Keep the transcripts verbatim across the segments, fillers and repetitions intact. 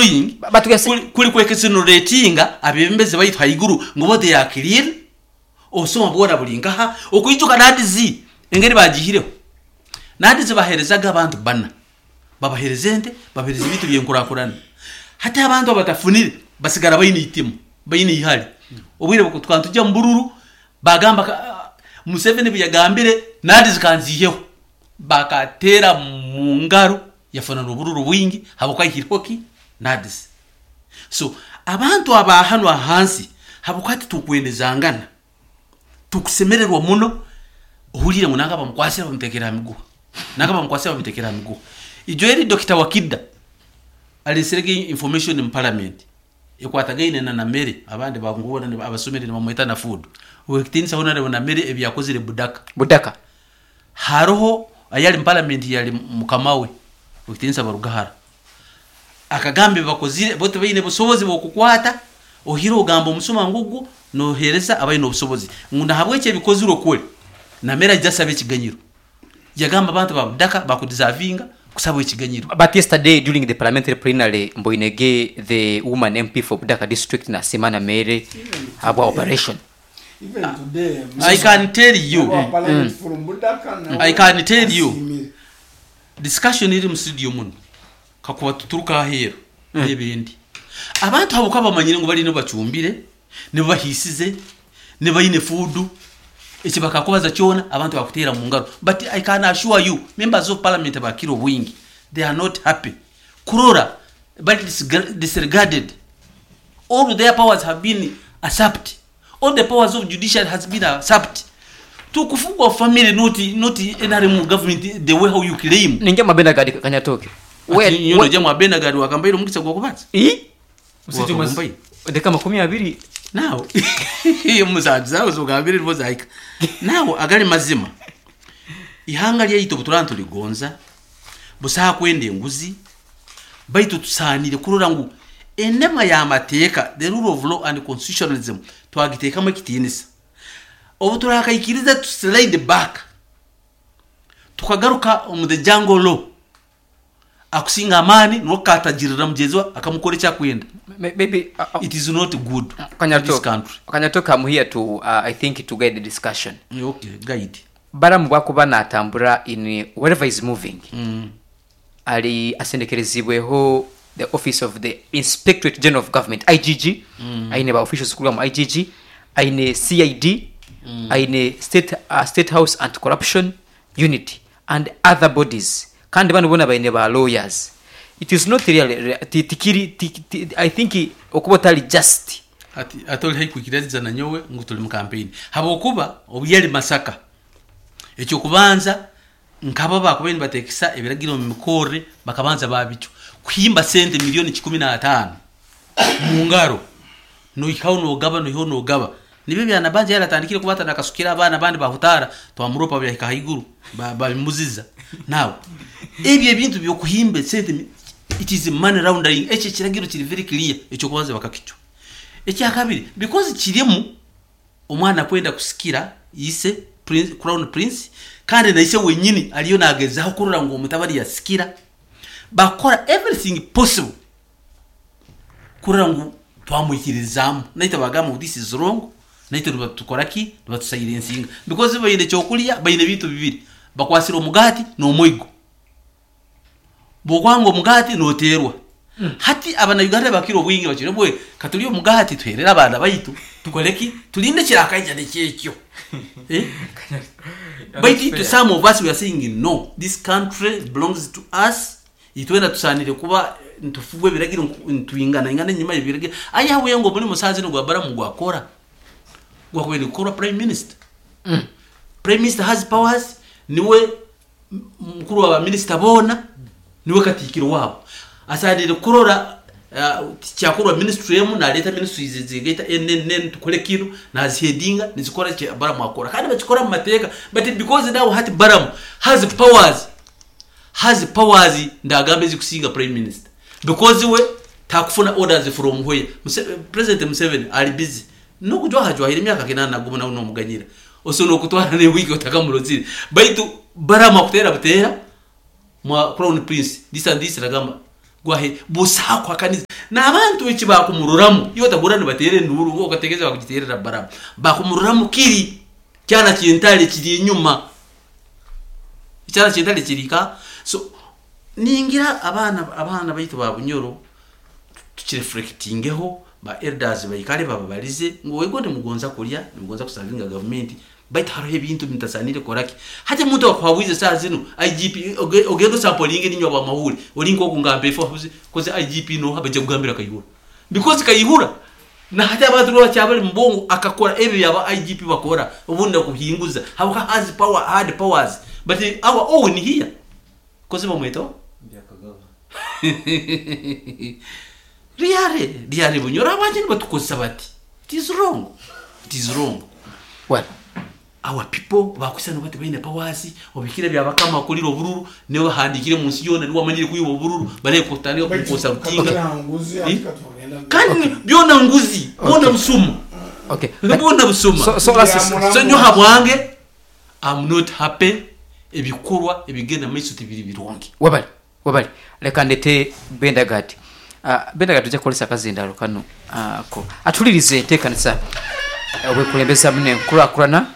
doing But we are saying- kuli, kuli kwexoneratinga abebembezi baitu haiguru ngu bo they are clean, obusoma bwona buli nkaha. Okwijuka NAADS engeri bagihireho, NAADS baherezaga abantu bana, babahereza ente, babahereza ebintu byenkurakurana. Hati abantu abatafunire basigara baine itima, baine ihari. Obwire bwe tujya mu bururu bagamba ka- Museveni bwe yagambire NAADS kanziheho, bakatera mu ngaro, yafuna n'obururu bwingi habwokuba ahireho ki NAADS. So abantu aba hano ahansi, habwokuba titukwendezangana, tukusemererwa muno ohurire ngu nanga bamukwasira bamutekera miguha, nanga bamukwasira bamutekera miguha. Ijo eri Doctor Wakida aleserege information mu parliament ekwatagaine na Namere, abandi bangubona abasomere nibamweta na food wekitinisa honorable Namere ebyakozire Budaka. Budaka. Haroho ayali mu parliament yali mukama we wekitinisa Barugahara, akagambe bakozire bo tebaine busobozi bwokukwata. Ohire ogamba omusuma ngugu nohereza abaine obusobozi ngu nahabwekyo ebikozire okole Namere ajja asaba ekiganyiro. Yagamba abantu ba Budaka bakudeservinga kusaba ekiganyiro. But yesterday during the parliamentary plenary, Mboinege, the woman M P for Budaka district, na Simana Mere habwa operation. Even today, I can tell you, our parliament from Budaka na I can tell you. Asimire. Discussion iri mu studio muno kakuba tuturuka aheeru n'ebindi, abantu abo ka bamanyire ngu balina bacumbire, nibabahisize, nibaine food, eki bakakubaza kyona abantu bakuteera mu ngaro. But I can assure you, members of parliament bakira obwingi they are not happy kurora bali disga- disregarded. All their powers have been usurped, all the powers of judiciary has been usurped. Tukufugwa family, not not N R M government the way how you claim. Ninja mabenda gadi Kanyatoke. Ati nyono jamu abenagadi wakambaire omukisa gwokubanza. I? Wakambaire. Deka makumi abiri. Nawe musanju zawe zogambire nibo zahika. Nawe agali mazima, ihanga lyaitu obuturaba nituligonza, busaha kwenda enguzi, baitu tusaanire kurora ngu enema y'amateeka, the rule of law and constitutionalism, twagiteekamu ekitiinisa. Obu turakaikiriza tu slide back, tukagaruka omu the jungle law, akusinga amaani niwe katagirira mugenzi we akamukora ekyakwenda. Maybe uh, uh, It is not good for this Kanyatoke. country. Kanyatoke, I'm here to uh, I think to guide the discussion. Okay, guide. Baramu bwakuba natambura in wherever is moving, mm. ali asendekerezibweho the office of the Inspectorate General of Government, I G G, mm. aine ba officials kuruga mu I G G, aine C I D, mm. aine state, uh, State House Anti Corruption Unit and other bodies, kandi bano bona baine ba lawyers. It is not really ti- tikiri ti- ti- I think okuba otali just. Ati ate oli haikwikiririza na nyowe ngu tuli mu campaign, habwokuba obu yali Masaka, ekyokubanza nkaba bakubaire nibateekesa ebiragiro mu mikorre, bakabanza babicwa kuhimba sente miliyoni kikumi n'ataano mu ngaro, noihikaho nogaba, noihaho nogaba. Nibyo byanabanja yaratandikire kuba nakasukira abaana abandi bahutara, twamuropa byahika haiguru ba- babimuziza. Nawe ebyo ebintu byokuhimba sente mi- it is money laundering. Ekyo ekiragiro kiri very clear. Ekyokubanza bakakicwa. Ekyakabiri, because kirimu omwana kwenda kusikira ise prince, crown prince, kandi naise wenyini aliyo nagezaho kurora ngu omutabani yasikira, bakora everything possible kurora ngu twamwikirizaamu. Naite bagamba ngu this is wrong, naite nibatukora ki, nibatusairensinga, because baine ekyokulya, baine ebintu bibiri bakwasire, omugati n'omwigo. Bwokwanga omugati noterwa. Hati abanauganda bakira obwingi bakire bwe katulye omugati, tuherere abaana baitu, tukole ki, tulinde kirakaija nekyekyo, eh? Baitu itwe, some of us, we are saying no, this country belongs to us. Itwena tusanire kuba ntufugwe ebiragiro ntwingana ingana enyuma y'ebiragiro. Ayahuye ngo muri musazi gwa Baramu gwakora gwakubaire kukorwa prime minister. Prime minister has powers, niwe m- mukuru wa minisita boona, niwe katikiro wabo, asanire kurora uh, kyakorwa ministry emu, naleta ministries zigaita N N N, tukole kino, naziheadinga nizikora kye Baramu akora, kandi bakikora mu mateeka. But because now hati Baramu has powers has powers ndagamba ezikusinga prime minister, because we takufuna orders from where Muse, President Museveni ali busy nokujwahajwahira emyaka kinana naguma nawe nomuganyira osobola okutwara newiki otakamurozire, baitu Baramu akutera butera mwa crown prince this and this, ragamba Gwahe busa kwakaniza n'abantu eki bakumururamu iyo tabura nibatere enduru okategereza bakugiterera baramu bakumururamu kiri kyana kyentale kiri enyuma kyana kyentale kirika. So ningira abaana abaana baitu ba Bunyoro tukireflectingeho, ba elders baikale bababalize ngu wego nimugonza kulya, nimugonza kusavinga gavumenti, baitu hariho ebintu bitasanire koraki. Hati omuntu akuhabwize saa zino I G P ogenda osampolinge ninywa ba mahuri ori nk'okungamba efo koze I G P no abaje kugambira Kayihura because Kayihura na hati abantu bakyabali mbongo akakora ebyo yaba I G P bakora obundi kuhinguza habuka has power hard powers but our own here koze bamweto Riare riare Bunyoro abanje batukosa bati it is wrong, it is wrong. Well, our people bakusana bati baine powers obikire byabakama kulira obururu ne bahandikire munsi yona ni wamanyire kuyuba obururu bare kutandika kukosa rutinga kandi byona nguzi bona busuma. Okay, bona busuma. So so last so nyoha bwange I'm not happy ebikorwa ebigenda maiso tibiri birungi. Wabali wabali leka ndete Bendagati. Uh, Bendagati tujja kukolesa akazindalo kano uh, ko atulirize enteekanisa obwekulembeza mune nkulakulana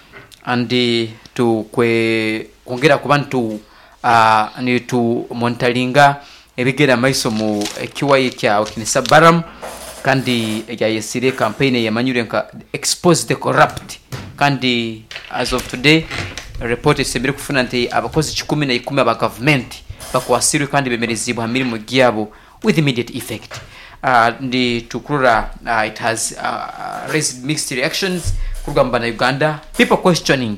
andi tukwe kwongera ku bantu uh, ni tu monitoringa ebigenda maiso mu kiwayi kya Okinisa Balaam kandi yayesire campaign yamanyure nka expose the corrupt kandi as of today report esembere kufuna nti abakozi kikumi na ikumi aba government bakwasirwe kandi bemerezibwa mirimu gyabo with immediate effect. Uh, ndi tukurura uh, it has uh, raised mixed reactions kurugamba na Uganda people questioning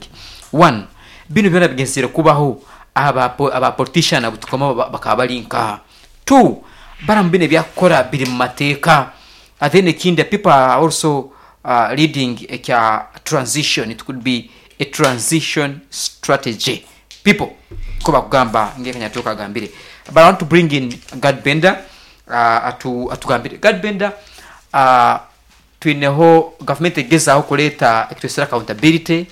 one bino byona bigenzire kubaho aba aba politician abutukoma bakaba bali nka two Balaam bine byakora biri mu mateeka. And then ikindi people are also uh, leading a transition, it could be a transition strategy people ko bakugamba ngekanya tukagambire. But I want to bring in Gad Bender uh, atu atugambire Gad Bender uh, twineho government egezaho kuleta ekitwesera accountability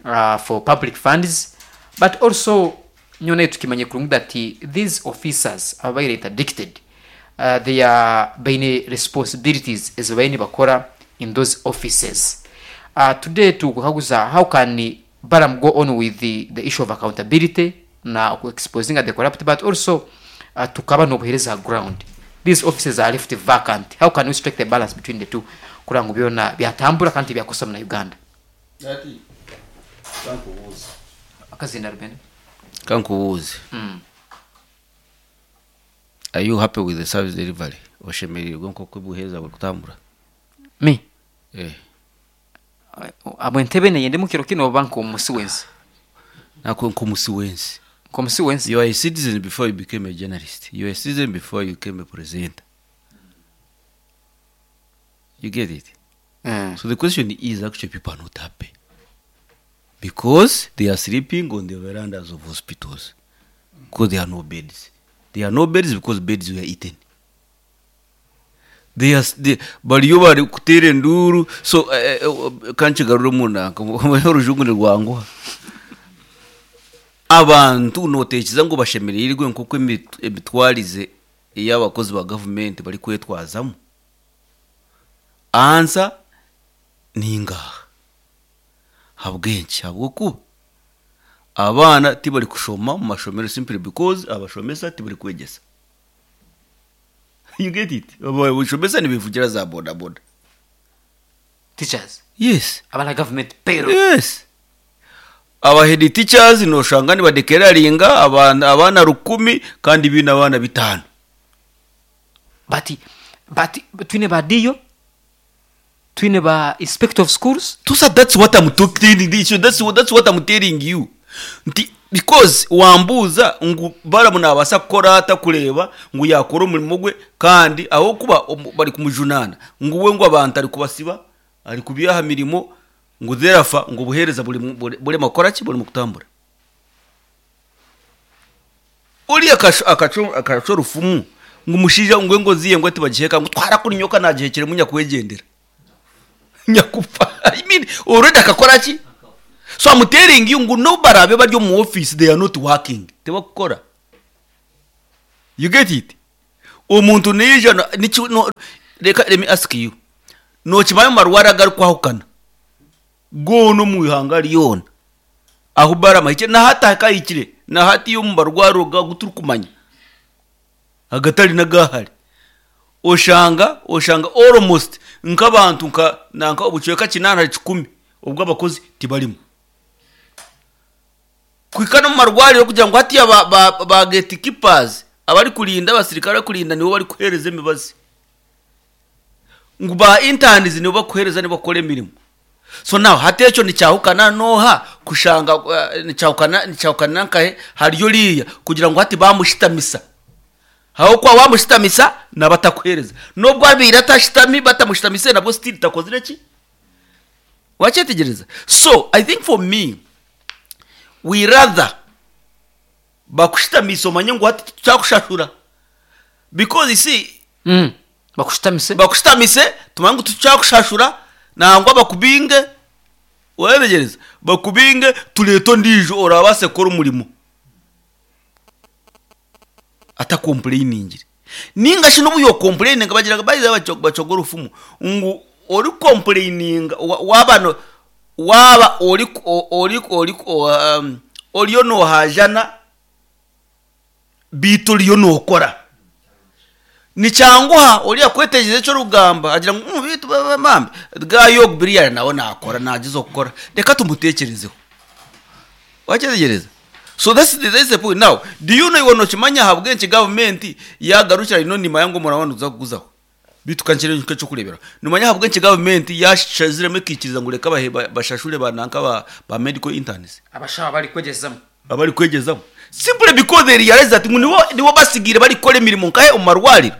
uh, for public funds but also nyone tukimanye kurungu that these officers ababaire interdicted uh, they are baine responsibilities as baine bakora in those offices. Uh, today tukukaguza how can Balaam go on with the, the issue of accountability na exposing the corrupt but also uh, tukaba n'obuhereza ground these offices are left vacant, how can we strike the balance between the two kurangu byona byatambura kandi byakosa na Uganda? Ati kankubuze akazinda Ruben kankubuze mm. Are you happy with the service delivery? Oshemereirwe nko buheza buri kutambura me eh abo entebe neyende mukiro kino oba nko wensi nako nko musi wensi nko musi wensi. You are a citizen before you became a journalist. You are a citizen before you became a presenter. You get it? Mm. So the question is actually people are not happy because they are sleeping on the verandas of hospitals because there are no beds. There are no beds because beds were eaten. They are they, bariyo bari kutera enduru so kanchigarure munanka orujungu nirwanguha abantu notekereza ngo bashemereirwe nkuko emitwarize y'abakozi ba government bari kwetwazamo. Ansa ningaha habwenki habwokuba abaana tibari kushoma mu mashomero simply because abashomesa tibari kwegesa. You get it? Abashomesa nibivugira za boda boda teachers. Yes, abana government payroll. Yes, aba head teachers noshanga ni badekeraringa abana abana rukumi kandi bina abana bitano but but twine badiyo twine ba inspector of schools. Tusa, that's what I'm talking that's what, that's what I'm telling you. Nti because wambuza ngu Balaam nabasa kukora atakureba ngu yakora omurimo gwe kandi aho kuba bari kumujunana ngu we ngu abantu ari kubasiba ari kubyaha mirimo ngu therafa ngu buhereza buri buri makora ki buri mukutambura uri akacho akacho rufumu ngu mushija ngwe ngo ziye ngo tibagiheka ngu twara kuri nyoka nagihekere munya kwegendera nyakufa. I mean already akakora ki. So I'm telling you ngu no barabe bari mu office they are not working. Tebakukora. You get it? Omuntu niija no- niki- no- reka let me ask you. Nokimanya omu marwaro agarikwahukana goona omu ihanga ryona ahu Balaam ahikire na hati akahikire na hati omu marwaro agu turikumanya agatari n'agahare oshanga oshanga almost nk'abantu nka nanka obucweka kinaana ahari kikumi obw'abakozi tibarimu. Kuhika n'omu marwariro kugira ngu hatiya ba, ba, ba gatekeepers abarikurinda abasirikare barikurinda nibo barikuheereza emibazi ngu ba interns nibo bakuheereza nibo bakora emirimo. So now hati ekyo nikyahukana noha kushanga uh, nikyahukana nikyahukana nkahe hariyo oriya kugira ngu hati bamushitamisa ahabw'okuba wamushitamisa naba atakuheereza n'obwo abaire atashitami batamushitamise nabwo still takozire ki wakyetegyereza. So I think for me we rather bakushitamise omanye ngu hati tukyakushashura because you see Mm. Bakushitamise. Bakushitamise tumanye ngu tukyakushashura nangwa bakubinge wetegyereza bakubinge tureete ondiijo orabaase kukora omurimo atakomplainingire ninga shi n'obu yokomplaininga bagira bayiza bacogora orufumu ngu orikomplaininga waaba no waaba ori ori ori um, oriyo nohajana biitu oriyo nokora nikyanguha oriya kwetegyereza eki orikugamba agira ngu mm, biitu bambi gayo biriya nawe nakora nagiza okukora reka tumutekerezeho wakyetegyereza. So that's the, that's the point. Now do you know iwe nokimanya ahabw'enki gavumenti yagarukira ino nimanya ngu omurabano tuza kuguzaho bitu kankire nk'ekyokureeberaho nimanya ahabw'enki gavumenti yashaziremu ekaikiriza ngu reka bahe- ba- bashashure bananka ba, ba medical interns abashaho bari kwegyezamu abari kwegyezamu simply because they realize that ngu nibo nibo basigiire barikukora emirimo nkahe omu marwariro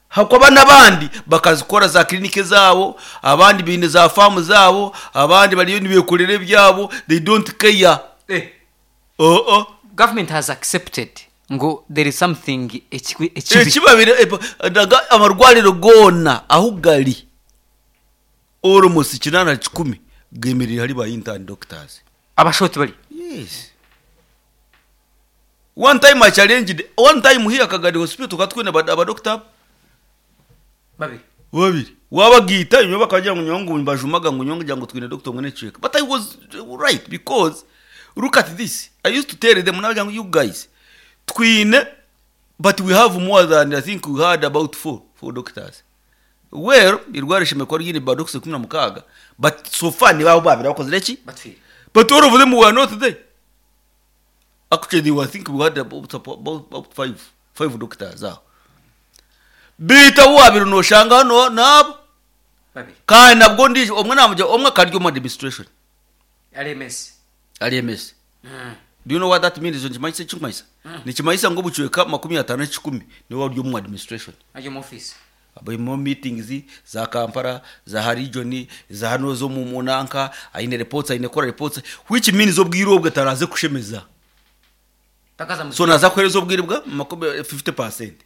hakuba n'abandi bakazikora za kirinike zaabo abandi baine za faamu zaabo abandi bariyo nibekorera ebyabo they don't care. Eh. Oh, oh. Government has accepted ngo there is something ekibi ekibi. Ekibabire epa- amarwariro goona ahu gari almost kinaana na kikumi gemereire hari ba intern doctors. Abashaho tibari. Yes, one time I challenged one time here Kagadi Hospital tukatwine abadokita babiri babiri wabagiita inyuma bakagira ngu nyongu bajumaga ngu nyongu ngira ngu twine doctor omwe n'ekicweka. But I was right because look at this, I used to tell them nabagira ngu you guys twine but we have more than, I think we had about four four doctors. Well, irwara ishimwe kuba ryine ba doctors ikumi na mukaaga but so far nibabo babiri bakozire ki batwire but all of them were not there. Actually they were, I think we had about, about, about five five doctors aho biita wabiri noshanga hano nabo babiri kandi nabwo ndi omwe namugira omwe akarya omu administration ari M S. Ari M S. Mm. Do you know what that means? Nikimanyisa ekikumanyisa nikimanyisa ngu obucweka makumi ataano ekikumi niwe wari omu administration ari mu office barimu meetings za Kampala za region za hano zo mu munanka aine reports aine kora reports which means obwire obwe taraze kushemeza takaza mu so naza kuhereza obwire bwa makumi fifty percent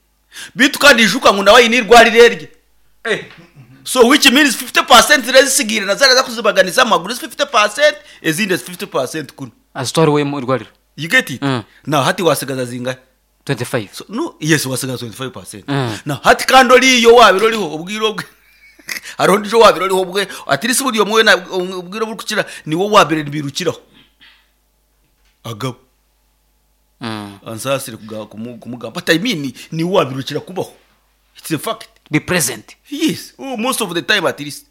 bitu kandi ijuka ngu nawe aine irwariro erye eh so which means fifty percent rezisigire nazaraza kuzibaganiza amaguru fifty percent ezindi fifty percent kuno azitwara we mu irwariro. You get it? Mm. Now hati wasigaza zingahe? twenty-five. So, no, yes, wasigaza twenty-five percent. Mm. Now hati kandi oriyo wabira oriho obwire obwe hariho ndijo wabira oriho obwe at least buri omwe na obwire burikukira niwo wabire nibirukiraho agabo Mm. ansasire kuga- kumu- kumugamba but I mean niwo wabirukira kubaho, it's a fact. Be present. Yes, oh, most of the time at least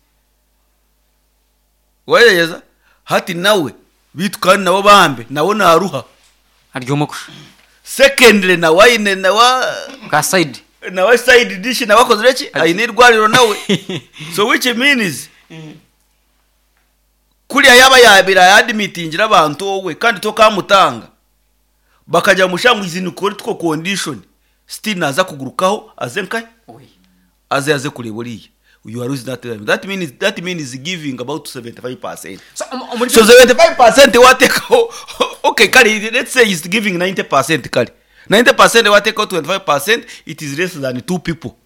wagerageza hati nawe bitu kandi nabo bambe nawe naruha ari omukusha secondly nawe aine nawe ka side nawe side dish nawe akozire ki aine irwariro nawe so which means kuriya yaba yabira yadimitingira abantu wowe kandi tokamutanga bakajya mushangu izi ni critical condition still naza kugurukaho aze nkahe aze aze kureba uriya you are losing that time. That means that means giving about seventy-five percent. So um, omuri So seventy-five percent watekaho okay kale let's say he's giving ninety percent kale ninety percent watekaho twenty-five percent, it is less than two people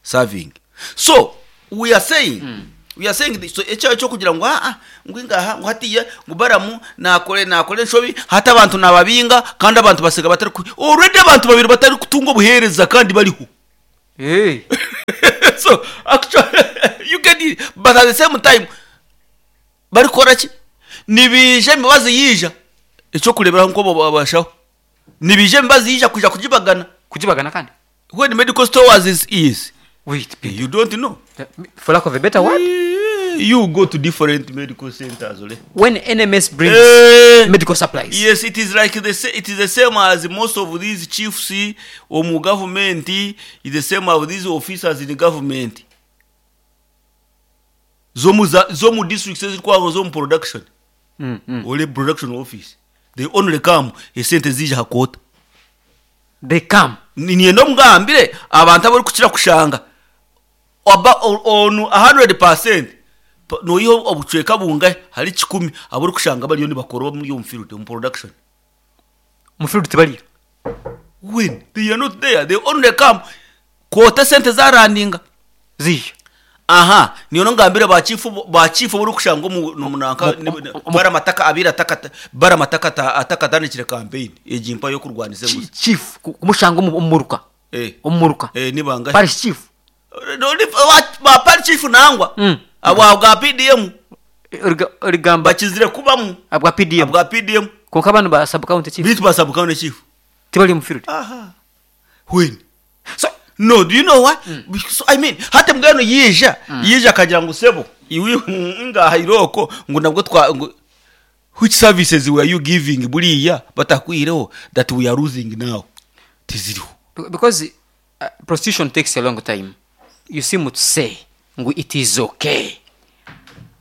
serving. So we are saying mm. We are saying this, so ekyo ekyokugira ngu aa ngu ingaha ngu hatiya ngu Balamu nakore nakore enshobi hati abantu nababinga kandi abantu basiga batari ku already abantu babiri batari kutunga obuheereza kandi bariho. Hey. So actually you get it, but at the same time barikora ki? Nibija emibazi yiija ekyokureberaho nko babashaho nibija emibazi yiija kuja kugibagana. Kugibagana kandi When medical stores is is wait, Peter. You don't know. For lack of a better word, You go to different medical centers ole. When N M S brings Eh, medical supplies. Yes, it is like the sa- it is the same as most of these chiefs omu government, is the same as these officers in the government zomu za- zomu districts ezirikwago zomu production mm, mm. ole production office, they only come esente zija hakota. They come. Ninyenda omugambire abantu abarikukira kushanga oba o- onu one hundred percent pa- noyiha obucweka bungahe hari kikumi abarikushanga bariyo nibakora muri omu field, omu production. Mu field tibariyo. When they are not there, they only come kwota sente zarandinga. Ziyo. Aha, niyo ngambire ba chief, ba chief bari kushanga omu nomunanka baramataka abira atakata baramataka atakatandikire campaign egimpa yo kurwanisa Chi- enguzi. Chief ku- kumushanga omu- omuruka. Eh. Omuruka. Eh, nibanga Parish chief. Ba parish chief nangwa Mm. abo bwa P D M. Origa- origamba Bakizire kubamu. Abwa P D M. Bwa P D M. Konka bano ba sub county chief bitu ba sub county chief tibari mu field. Aha, when So no, do you know why? So, I mean, hata mbwenu yija yija akagira ngo sebo iwi ngaha iroko ngo nabwo twa ngo which services were you giving buriya batakwireho that we are losing now? Tiziriho. Be- because uh, prostitution takes a long time. You seem to say ngu it is okay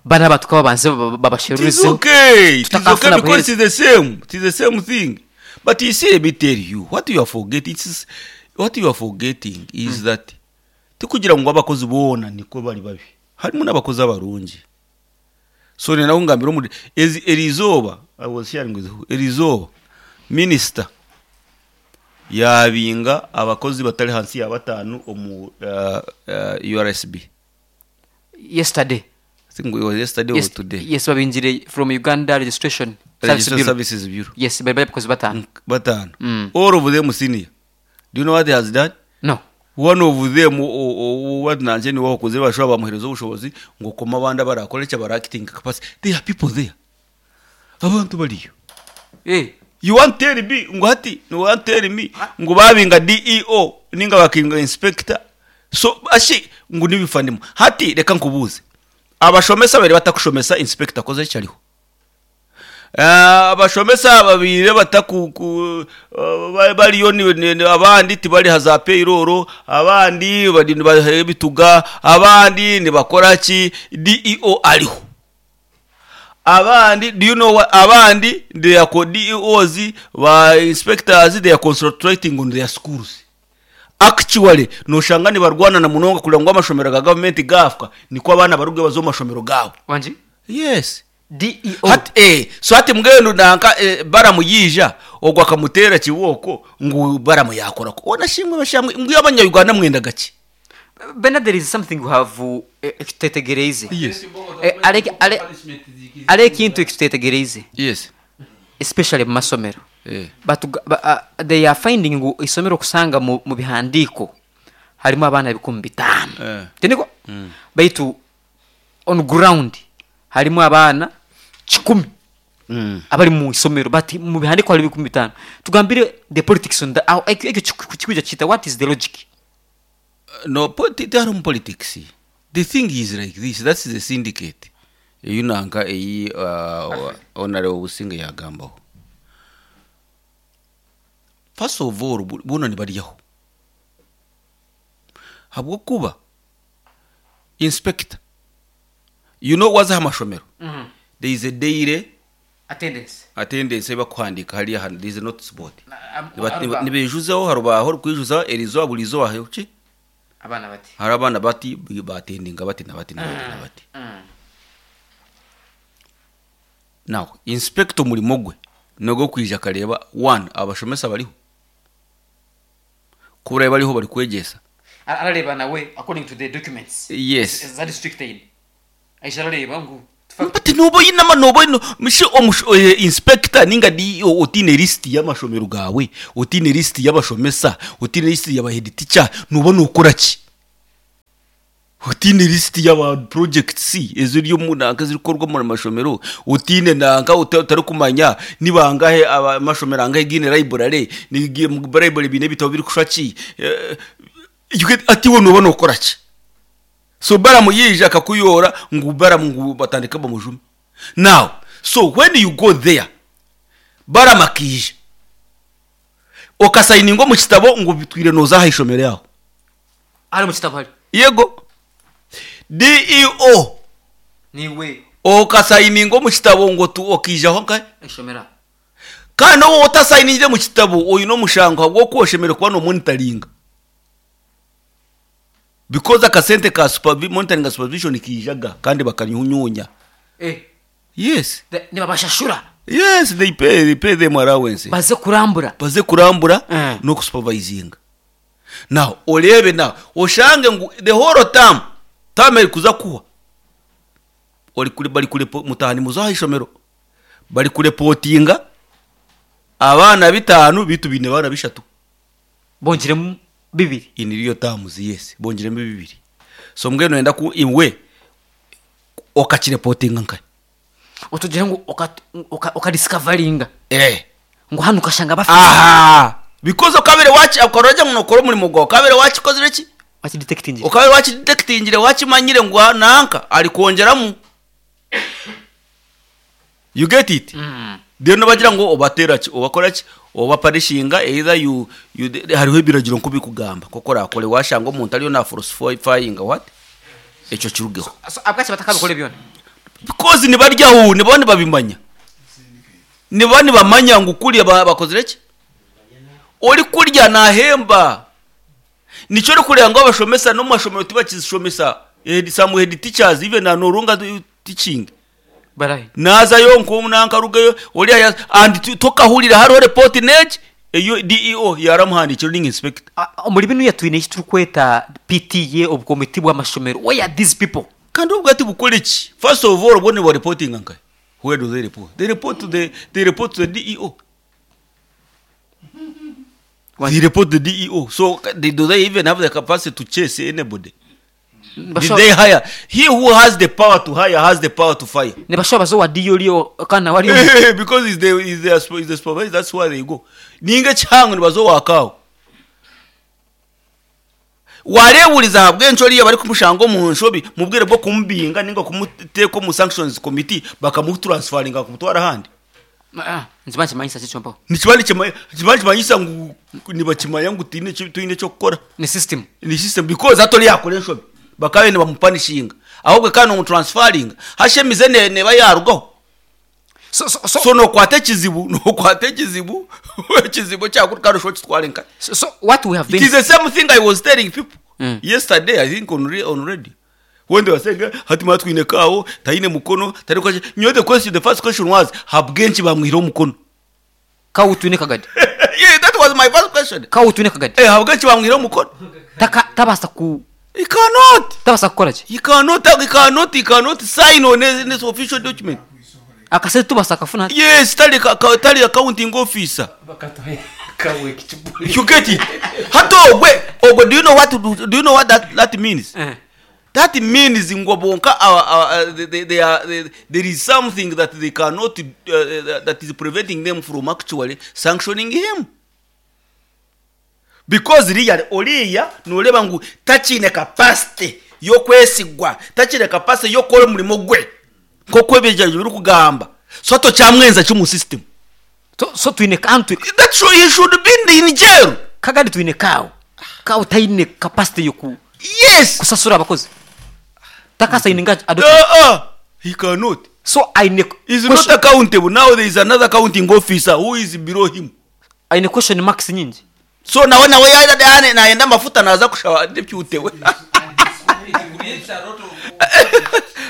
bana abantu kaba banze It is babasherurizeho. okay. It is okay Tutakafuna because it's the same. It is the same thing. But you see, let me tell you, what you are forgetting is what you are forgetting is that tikugira ngo abakozi bona niko bari babi. Harimo n'abakozi abarungi. So ni naho ngambira muri ezi erizoba I was sharing with you, erizoba minister yabinga abakozi batari hansi ya batanu omu uh, uh, U R S B. Yesterday. I think it was yesterday Yes, or today. Yes, babinjire from Uganda Registration Service Registration Bureau. Services Bureau. Yes, bari bari abakozi batanu. Batano. Mm. All of them senior. Do you know what he has done? No. One of them what nanje ni wakoze bashobora bamuhereza ubushobozi ngo koma abandi barakora icyo bara acting capacity. There are people there, abantu bariyo. Eh. You want tell me ngo hati you want tell me ngo babinga D E O ninga bakinga inspector, so ashi ngo nibifandimo hati reka nkubuze abashomesa babiri batakushomesa inspector akoze icyo ariho. Eh, abashomesa babiri bataku ku- eh, bariyo ni- ni- ni- abandi tibari haza payroll, abandi bari bahe bituga, abandi nibakora ki? D E O ariho. Abandi, do you know what abandi they are co- D E Os ba inspectors, they are concentrating on their schools. Actually noshanga nibarwana na munonga kugira ngo amashomero ga government gafwa niko abana baruge bazo mu mashomero gabo. Wanji. Yes. D E O. Hati eh so hati mbwenu nanka eh, baramuyija ogwo akamutera kiboko ngo baramuyakora ko ona shimwe bashamwe mbwiye abanyarwanda mwenda gake. Bernard, there is something we have uh, ekitutetegereize. Yes. Eh, ale- ale- ale ekintu ekitutetegereize, Yes. especially mu masomero. Eh. Batuga- ba, uh, they are finding ngu isomero kusanga mu, mu bihandiko harimu abaana bikumi bitaano. Eh. Tiniko baitu on ground harimu abaana kikumi mm. abari mu isomero, but mu bihandiko hari bikumi bitaano. Tugambire the politics on the aho ekyo ekyo kiku- kikuja kita, what is the logic? No, politi- tiharimu politics. The thing is like this, that's the syndicate eyi nanka eyi uh, honorable Businge yagambaho. First of all, bu- buno nibaryaho habwokuba inspector, you know, wazaho amashomero, there is a daily Attendance. Attendance bakuhandika hariya hantu, there is a notice board. Niba- Arubaho. nibejuzaho harubaho rukwijuza erizoba buri zoba ki Abaana bati. Hari abana bati batendinga bati na bati na bati na bati. Now inspector umurimo gwe nogwo kwija akareba one abashomesa bariho kubura bariho bari kwegesa. Arareba nawe according to the documents Yes. za district aid. Aisharareba ngu But noba oyine ama noba oyine mishi omush- eh, inspector ninga D E O otiine list y'amashomero gaawe, otiine list y'abashomesa, otiine list y'aba head teacher, noba nokora ki? Otiine list y'aba projects eziri omu nanka ezirikorwa omu mashomero, otiine nanka ota- otarikumanya ni bangahe aba- amashomero angahe giine library, ni gi- mu library biine ebitabo birikushwa ki? Eh, you get- ati iwe noba nokora ki? So Balaam yija akakuyora ngu Balaam ngu batandika bamujume. Now, so when you go there, Balaam akija okasayininga omu kitabo ngu bitwire noza aha ishomero yaho. Ari mu kitabo hari. Yego. D E O Niwe okasayininga omu kitabo ngu tu okijaho nka ishomero. Kandi wowe otasayiningire mu kitabo oyine omushango habw'okuba kuba no monitoringa. Because akasente ka supervi-, monitoring and supervision kijaga kandi bakanyunyunya. Eh. Yes. Nibabashashura. Yes, they pay, they pay them allowance. Baze kurambura. Baze kurambura Mm. no kusupervisinga. Now, orebe now, oshange ngu the whole term, term eri kuza kuwa. Ori kuri bari kure mutahani muzaha ishomero. Bari kureportinga abana bitanu bitu bine bana bishatu. Bongeremu bibiri. In real terms, yes, bongeremu bibiri. So mbwenu enda ku iwe okakireportinga nka. Otugira ngu oka, oka, oka discoveringa. Eh. Ngu hano ukashanga bafite. Aha. Because okabere wachi akoroja ngo nokora umurimo gwawe, okabere wakikozire ki? Wachi detectingire. Okabere wachi detectingire, wakimanyire ngu nanka ari kongeramu. You get it? Mm. Then bagira ngo obatera ki, obakora ki, obaparishinga either you, you hariho ebiragiro nko bikugamba koko rakore washanga omuntu ariyo na falsifying what? Ekyo kirugeho. So, abwachi batakabikora byona. Because ni barya hu, ni bani babimanya. Ni bani bamanya ngu kurya bakozire ki? Ori kurya nahemba. Nico ori kurya ngo abashomesa no mashomero tibakizishomesa. Eh, some head teachers even are no longer teaching. Barahi. Naza yo nko nankarugayo ori aya and tokahurira hariho report neji eyo D E O yaramuhandikira ring inspector. Muri bino yatwine iki turikweta P T A obukomiti bw'amashomero. Where are these people? Kandi ubwo ati bukore iki? First of all, bone ba reporting nka. Where do they report? They report to the, they report to the D E O. Why? They report to the D E O. So they, do they even have the capacity to chase anybody? Did Basho- they hire? He who has the power to hire has the power to fire. Ne basho bazo wa D E O lio kana wali Because it's the, it's the, it's the supervisor, that's where they go. Ninga changu ni bazo wakao. Wareburiza habwencho liya bari kumushango mu nshobi mubwire bwo kumubinga ninga kumuteko mu sanctions committee bakamutransferinga kumutwara handi. Ah, nzima kimanyisa chicho mpo. Ni kibali chima kibali kimanyisa ngu nibakimanya ngu tine tuine cyo gukora. Ni system. Ni system because atoli yakore nshobi. Bakabe ne bamupanishinga. Ahubwo kandi mu transferring hashemize ne, ne bayarugaho. So, so, so, So no kwate kizibu, no kwate kizibu. Kizibu cyakurusho kitware nka. so, so what we have been It is the same thing I was telling people Mm. yesterday, I think on, on radio. When they were saying, hati matwine kawo, taine mukono, tari kwaje. You know the question, the first question was, habwenchi bamwihira umukono. Kawo twine kagadi. Yeah, that was my first question. Kawo twine kagadi. Eh, habwenchi bamwihira umukono. Taka tabasa ku He cannot. Tabasa kukora ki? He cannot, he cannot, he cannot sign on this official document. Akasente tubasa kafuna. Yes, tali ka, tali accounting officer. Bakatoye kawe kichibuli. You get it? Hato ogwe, ogwe, do you know what to do, do you know what that, that means? Eh. That means ngwabonka, uh, uh, they, they, they are, they, there is something that they cannot, uh, that is preventing them from actually sanctioning him. Because really, oriya noleba ngu tachine capacity yo kwesigwa, tachine capacity yo kora umurimo gwe. Nk'uko ebyo biri kugamba. So to cyamwenza cyo mu system. So, so twine kantu. That show he should be in jail. Kagadi twine kawo. Kawo taine capacity yo ku Yes. kusasura abakozi. Takasa ininga Uh, uh, he cannot. So aine He's not accountable. Now there is another accounting officer who is below him. Aine question marks nyingi. So nawe nawe yaida naenda mafuta naza kushawa deputy we.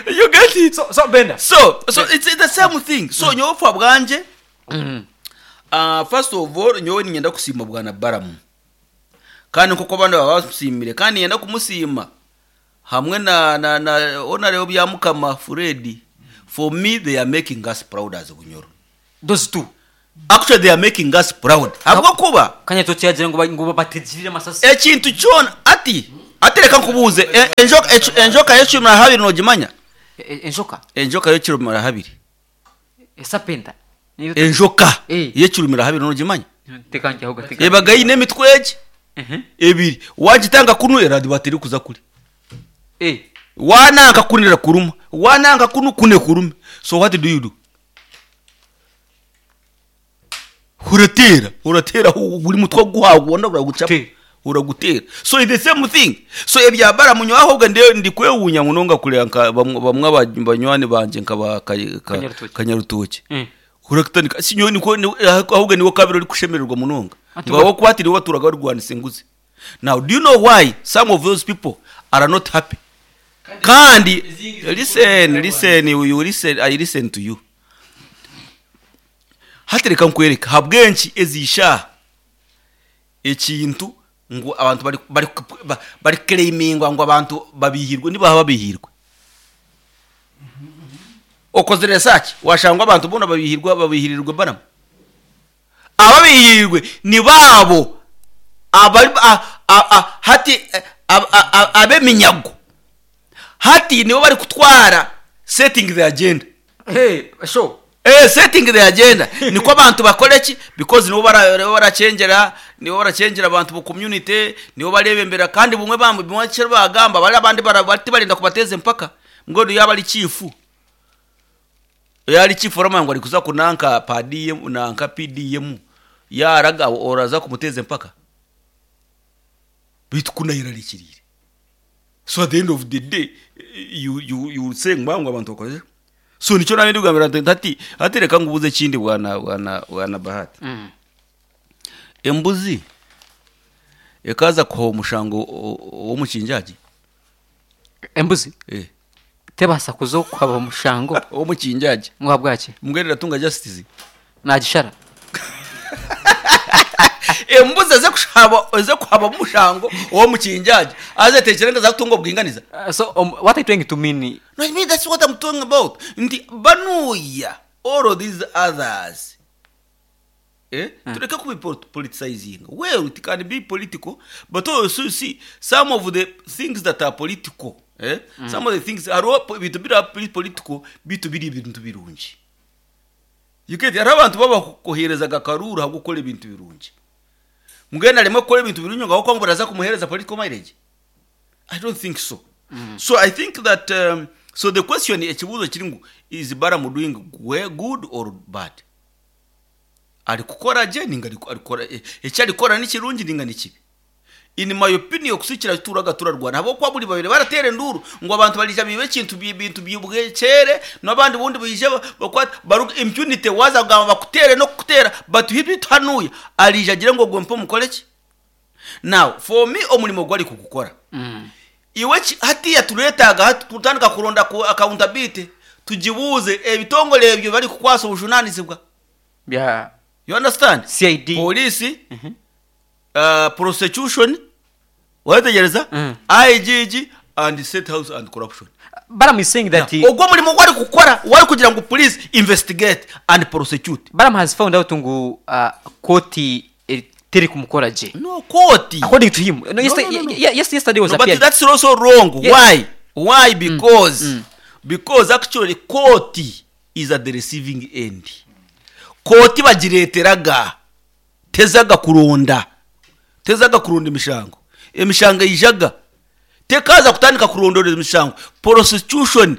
You get it? So, so Benda. So, so it's, it's the same thing. So mm. nyowe bwanje. Mm. Uh, first of all nyowe ningenda kusima bwana Balaam. Kandi nkuko abandi babasimire kandi ngenda kumusima. Hamwe na na na Honorable Byamukama Fred. For me they are making us proud as Bunyoro. Those two. Actually they are making us proud. Habwokuba Kanyatoki yagira ngo ba- ngo bategirire amasasi. Ekintu kyona ati atereka nkubuuze e- enjoka ecu- enjoka y'ekirumira habiri nogimanya? E- e- enjoka Enjoka y'ekirumira habiri. Esapenta. Enjoka Eh. y'ekirumira habiri nogimanya? Tekanjyaho gateka. Ebaga eine emitwe egi Mhm. ebiri, wagitanga kunu eradiba terikuza kuri. Eh. Wananka kunira kuruma, wananka kunu kune kurume. So what do you do? Uratera, uratera hu- buri mutwe guhagubona uragucapa. Te. Uragutera. So it's the same thing. So ebyabara munywa ahubwo ndi ndikwewunya munonga kureba nka bamwe bamwe aba- banywani banje nka ba ka- ka- Kanyarutoki. Kanyarutoki. Mm. Urakutanika sinyo niko ni- ahubwo niwo kabiri uri kushemererwa munonga. Ati Ngo abo kwatiri waturaga barwanisa enguzi. Now do you know why some of those people are not happy? Kandi listen, listen, you listen, I listen to you. Hatereka nkwereka habwenki ezisha ekintu ngu abantu bari bari ba- bari claimingwa ngo abantu babihirwe nibaha babihirwe. Okozere research washangwa abantu bona babihirwa babihirirwe banamu. Ababihirwe ni babo abari a- a- a- hati a- a- a- abeminyago hati nibo bari kutwara setting the agenda. Hey, sure. Eh, setting the agenda niko abantu bakora ki, because nibo bara- nibo baracengera nibo baracengera abantu mu community, nibo barebembera kandi bumwe bamwe bumwe kera bagamba bari abandi bara- bati barinda kubateza empaka ngo yaba ari chief, yari chief ramanga ngo ari kuza kunanka P D M nanka P D M yaraga oraza kumuteza empaka bitu kunayirarikirire. So at the end of the day you you you say ngo abantu bakoze. So nicyo nabindi kugambira nti ati atereka ngubuze kindi bwana bwana bwana Bahati. Mm. Embuzi ekaza kuha omushango w'omukinjagi. Embuzi eh tebasa kuzo kwaba omushango w'omukinjagi. Mwa bwaki? Mbwerera tunga justice. Nagishara. Embuzi eze kushaba eze kuhaba omushango w'omukinjagi aze tekereza za kutunga obwinganiza. Uh, so um, what are you trying to mean? No, I mean that's what I'm talking about. Nti banuya all of these others. Eh? Mm. Tureke kubi politicizing. Well, it can be political, but also you see some of the things that are political. Eh? Mm. Some of the things are all bintu biri political, bitu biri ibintu birungi. You get hari abantu baba koherezaga karura gukora ibintu birungi. Mugenda rimwe gukora ibintu birungi ngaho ko baraza kumuhereza political mileage. I don't think so. Mm. So I think that um, so the question ekibuzo kiri ngu is Balaam doing good or bad? Ari kukora je ninga ari kukora ekyarikora ni kirungi ninga ni kibi? In my opinion kusikira turaga turarwana abo kwa buri babiri baratere nduru ngo abantu barija bibe kintu bintu byibwekere nabandi bundi bije bakwata baruga impunity waza gamba bakutere no kutera but hibitanuye alija agira ngo gompo mukoleki. Now for me omulimo gwali kukukora. Mm. Iwe hatiya turetaga tutandika kuronda ku accountability tujibuze ebitongole ebyo bali kukwasa obujunanizibwa. Yeah. You understand? C I D. Police, mm -hmm. uh, prosecution, wategereza mm. I G G and State House and corruption. Balaam is saying that he ogwo mulimo gwali kukora wali kugira ngo police investigate and prosecute. Balaam has found out ngu uh, koti teri kumukora je. No koti. According to him. No, no, yesterday, no, no, no. Yes, yesterday was no, appeared. But that's also wrong. Yeah. Why? Why? Because mm. Mm. because actually koti is at the receiving end. Koti bagireteraga tezaga kuronda tezaga kuronda imishango emishango ijaga tekaza kutandika kurondora imishango prosecution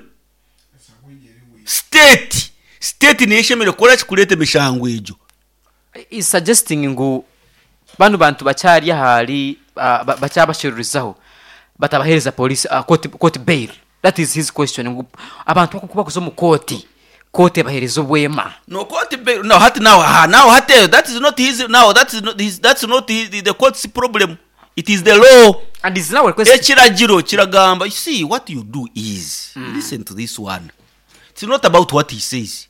state state niyeshemere kora kikureta emishango ejo is suggesting ngu bano bantu bacyari ahari uh, bacyabashirurizaho batabahereza police uh, court, court bail. That is his question ngu abantu bakuba kuzo mu koti kote bahereza obwema. No court bail no hati now ha now hati that is not his now that is not his that's not his, the, the court's problem. It is the law and is now requesting ekiragiro kiragamba. You see what you do is mm. listen to this one. It's not about what he says.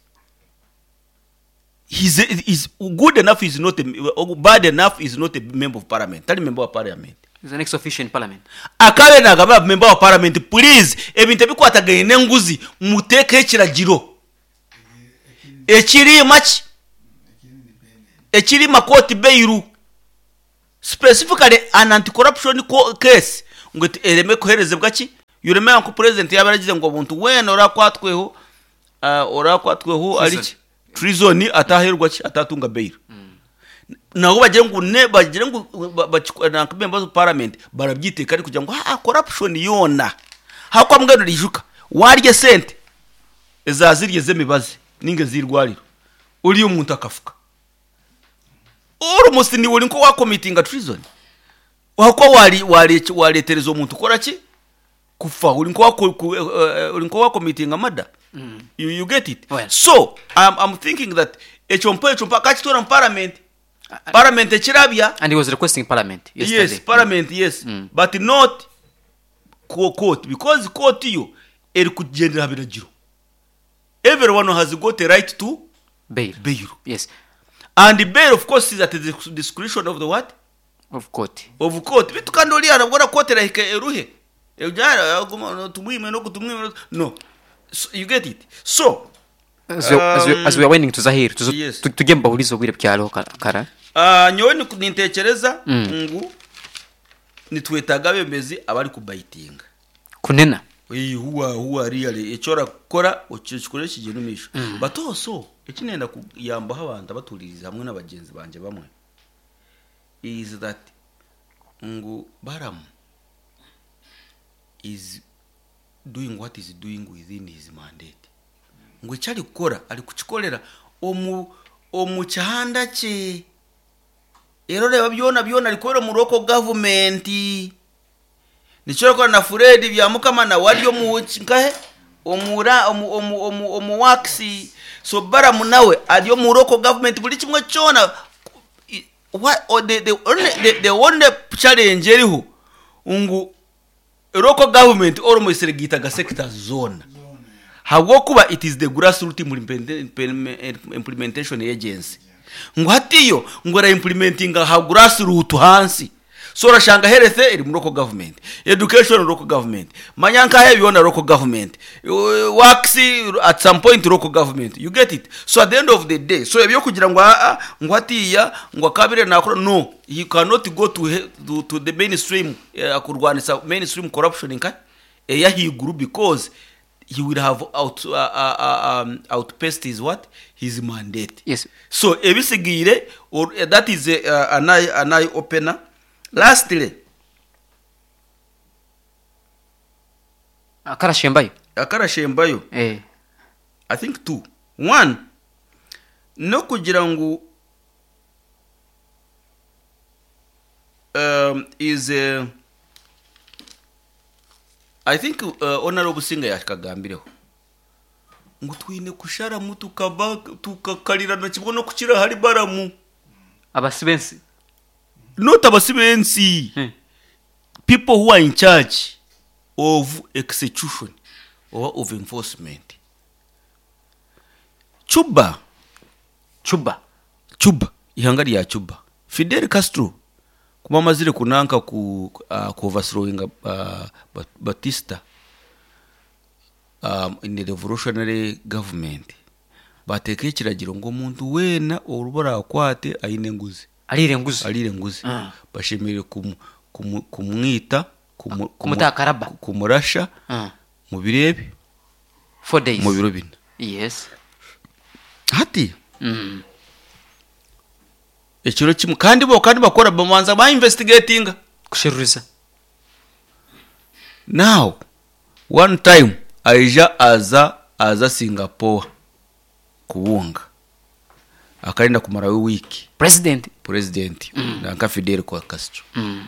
He's, he's good enough is not a, bad enough is not a member of parliament. Tali member of parliament. He's an ex-officio in parliament. Akabe nagamba member wa parliament, please, ebintu ebikwatagaine n'enguzi muteekeho ekiragiro ekiriima ki ekiriima court bail, specifically an anti-corruption co- case ngu eti- ereme kuherezebwa ki. You remember nko president yaba yaragize ngo omuntu weena orakwatweho uh, orakwatweho ari ki treason ataherwa ki, atatunga bail. Nabo bagire ngu ne bagire ngu ba- ba- na members of parliament barabyiteka ari kugira ngo ah, corruption yona hakwa mbwenu rijuka warye sente ezazirye z'emibazi ninga ez'irwariro uri omuntu akafuka, almost ni uri nko wakomitinga treason, wako wari wari waretereza omuntu kora ki kufa, uri nko wako- ku- eh, eh, uri nko wakomitinga murder. you, you get it? Well. So I'm, I'm thinking that ekyo mpa ekyo mpa kakitora mu parliament, parliament ekirabya. And he was requesting parliament yesterday. Yes, parliament, yes, Mm. but not co- court, because court yo eri kugendera ha biragiro. Everyone has got a right to Bail. bail. Yes. And bail, of course, is at the discretion of the what? Of court. Of court. Bitu kandi ori arabwora court erahika eruhe Ejara, aguma, tumwime no kutumwime no. So, you get it? So As we, as we, as we are winding to Zahir, tuzo- Yes. tu- tujye mbahuriza obwire byaro kara. uh, nyowe ni- nintekereza Mm. ngu nitwetaga abembezi abari kubayitinga. Kunena. Ee, huwa huwa really ekyo orakora okikore kigenda omu maisho. But also ekinenda kuyambaho abantu abatuririza hamwe n'abagenzi bangye bamwe is that ngu Balaam is doing what is doing within his mandate, ngu eki arikukora arikukikorera omu omu kihanda kye, era oreba byona byona arikukorera omu local government. Nikyo arikukora na Fred Byamukama nawe ari omu nkahe omura omu omu omu omu works. So Balaam nawe ari omu local government, buri kimwe kyona. I- what or the, the only the, the only challenge eriho ngu local government almost regitaga sectors zona, habwokuba it is the grassroot implement- implementation agency, ngu hatiyo ngu era implementinga ha grassroot hansi. So orashanga health eri mu local government, education local government, manya nkahe byona local government, Uh, works at some point local government. You get it? So at the end of the day, so ebyo kugira ngo aa ngo hatiya ngo akabire nakora, no, you cannot go to, he- to, to the mainstream uh, kurwanisa mainstream corruption nka eyahiguru, because he will have out, uh, uh, uh, um, outpaced his what, his mandate. Yes. So ebisigiire or, uh, that is a, uh, an, eye, an eye opener. Lastly, Akarashembayo. Akarashembayo. Eh. I think two. One, no kugira ngu um, is uh, I think uh, Honorable Singa yakagambireho ngu twine kusharamu tukaba tukakarirana kimwe no kukira hari Balaam. Abasibensi. Not abasibensi, Hmm. people who are in charge of execution or of enforcement. Cuba. Cuba. Cuba, ihanga rya Cuba, Fidel Castro kuba amazire kunanka ku uh, ku overthrowing uh, Batista um, in the revolutionary government, bateeka ekiragiro ngu omuntu weena oruba akwate aine enguzi, Arire enguzi. arire enguzi, Ah. bashemereire kumu, kumu, kumwita kumu, Kumutakaraba. kumurasha Ah. mu biro ebi Four days. mu biro bina. Yes. Hati Mm. ekiro kimwe kandi bo kandi bakora bamanza ba investigatinga. Kusheruriza. Now one time aija aza aza Singapore kubunga, akarinda kumarayo wiki. President. President mm. nanka Fidel kwa Castro Mm.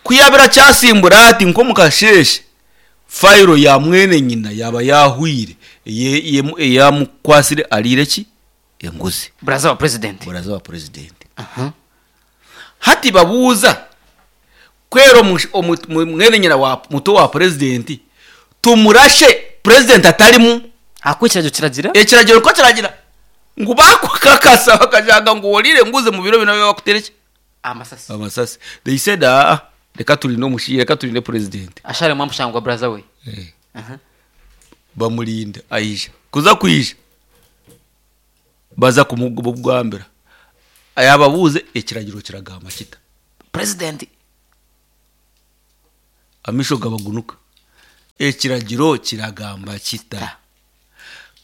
kuyabira kyasimbura ati nko mukasheshe fayiro ya mwene nyina yaba yahwire eyamukwasire arire ki enguzi. Braza wa president. Buraza wa president. Aha. Hati babuuza kwera omu- omu- mu- mwene nyina wa muto wa president tumurashe president atarimu? Ako ekiragiro kiragira. Ekiragiro ko kiragira ngu bakukakasa bakajanga ngu orire nguze mu biro bino bakutereke Amasasi. amasasi. They said, ah, Reka turinde omushi, reka turinde president. Ashare mwamushangwa brother we. Eh. Aha. Bamurinda aija kuza kwija baza kumugambira ayababuze ekiragiro kiragamba kita President amisho gabagunuka ekiragiro kiragamba kita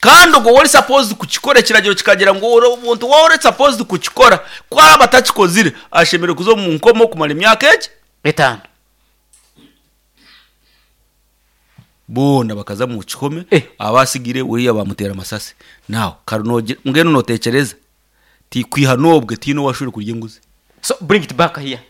kandi ubwo wari supposed kukikora ekiragiro kikagira ngo uri omuntu wari supposed kukikora kwaba atakikozire ashemerewe kuza mu nkomo kumara emyaka eki etano bona bakaza mu kihome Eh. abasigire uriya bamutera amasasi nawe karunoge mbwenu notekereza ti kwiha nobwe tino washuri kurya inguzi So bring it back here.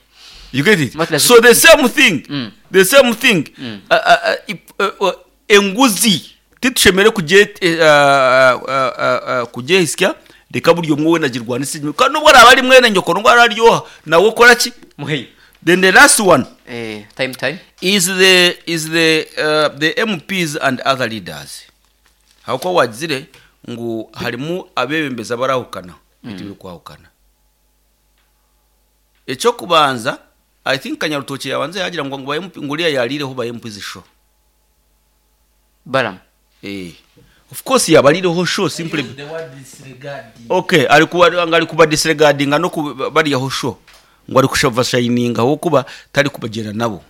You get it? What does So it- the same thing, Mm. the same thing. Mm. Uh, uh, uh, if- uh, uh, enguzi titushemere kuje uh, uh, uh, uh, kujehisya reka buryo mwe nagirwanisa kandi nubwo araba ari mwene nyoko nubwo araryoha nawe ukora ki Muheyi. Then the last one Eh, time time. is the is the uh, the M Ps and other leaders. Hauko wagizire ngu harimu abebembezi abarahukana bitu biri kwahukana. Ekyo kubanza, I think Kanyarutoki yabanza yagira ngo ngo ba M P nguriya yarireho ba M Ps show. Baram. Eh, of course yabarireho show simply. The word disregard. Okay, ari kuba ngo ari kuba disregardinga no kubariyaho show ngo ari kushava shininga aho kuba tari kubagera nabo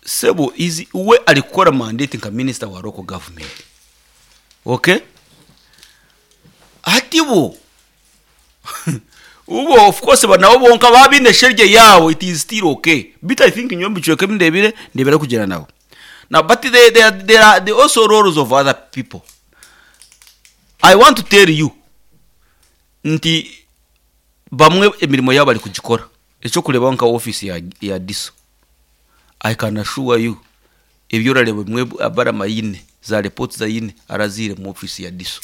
sebo izi we ari gukora mandate nka minister wa local government. Okay, ati bo ubo of course banabo bonka babine sherye yawo, it is still okay, but I think nyombi chweke ndebire ndebera kugera nabo now, but they, they, are, there are the also roles of other people. I want to tell you nti bamwe emirimo yabo bari kugikora ekyo kureba nka office ya, ya D I S O. I can assure you ebyo orareba bimwe abarama yine za reports za yine arazire mu office ya D I S O.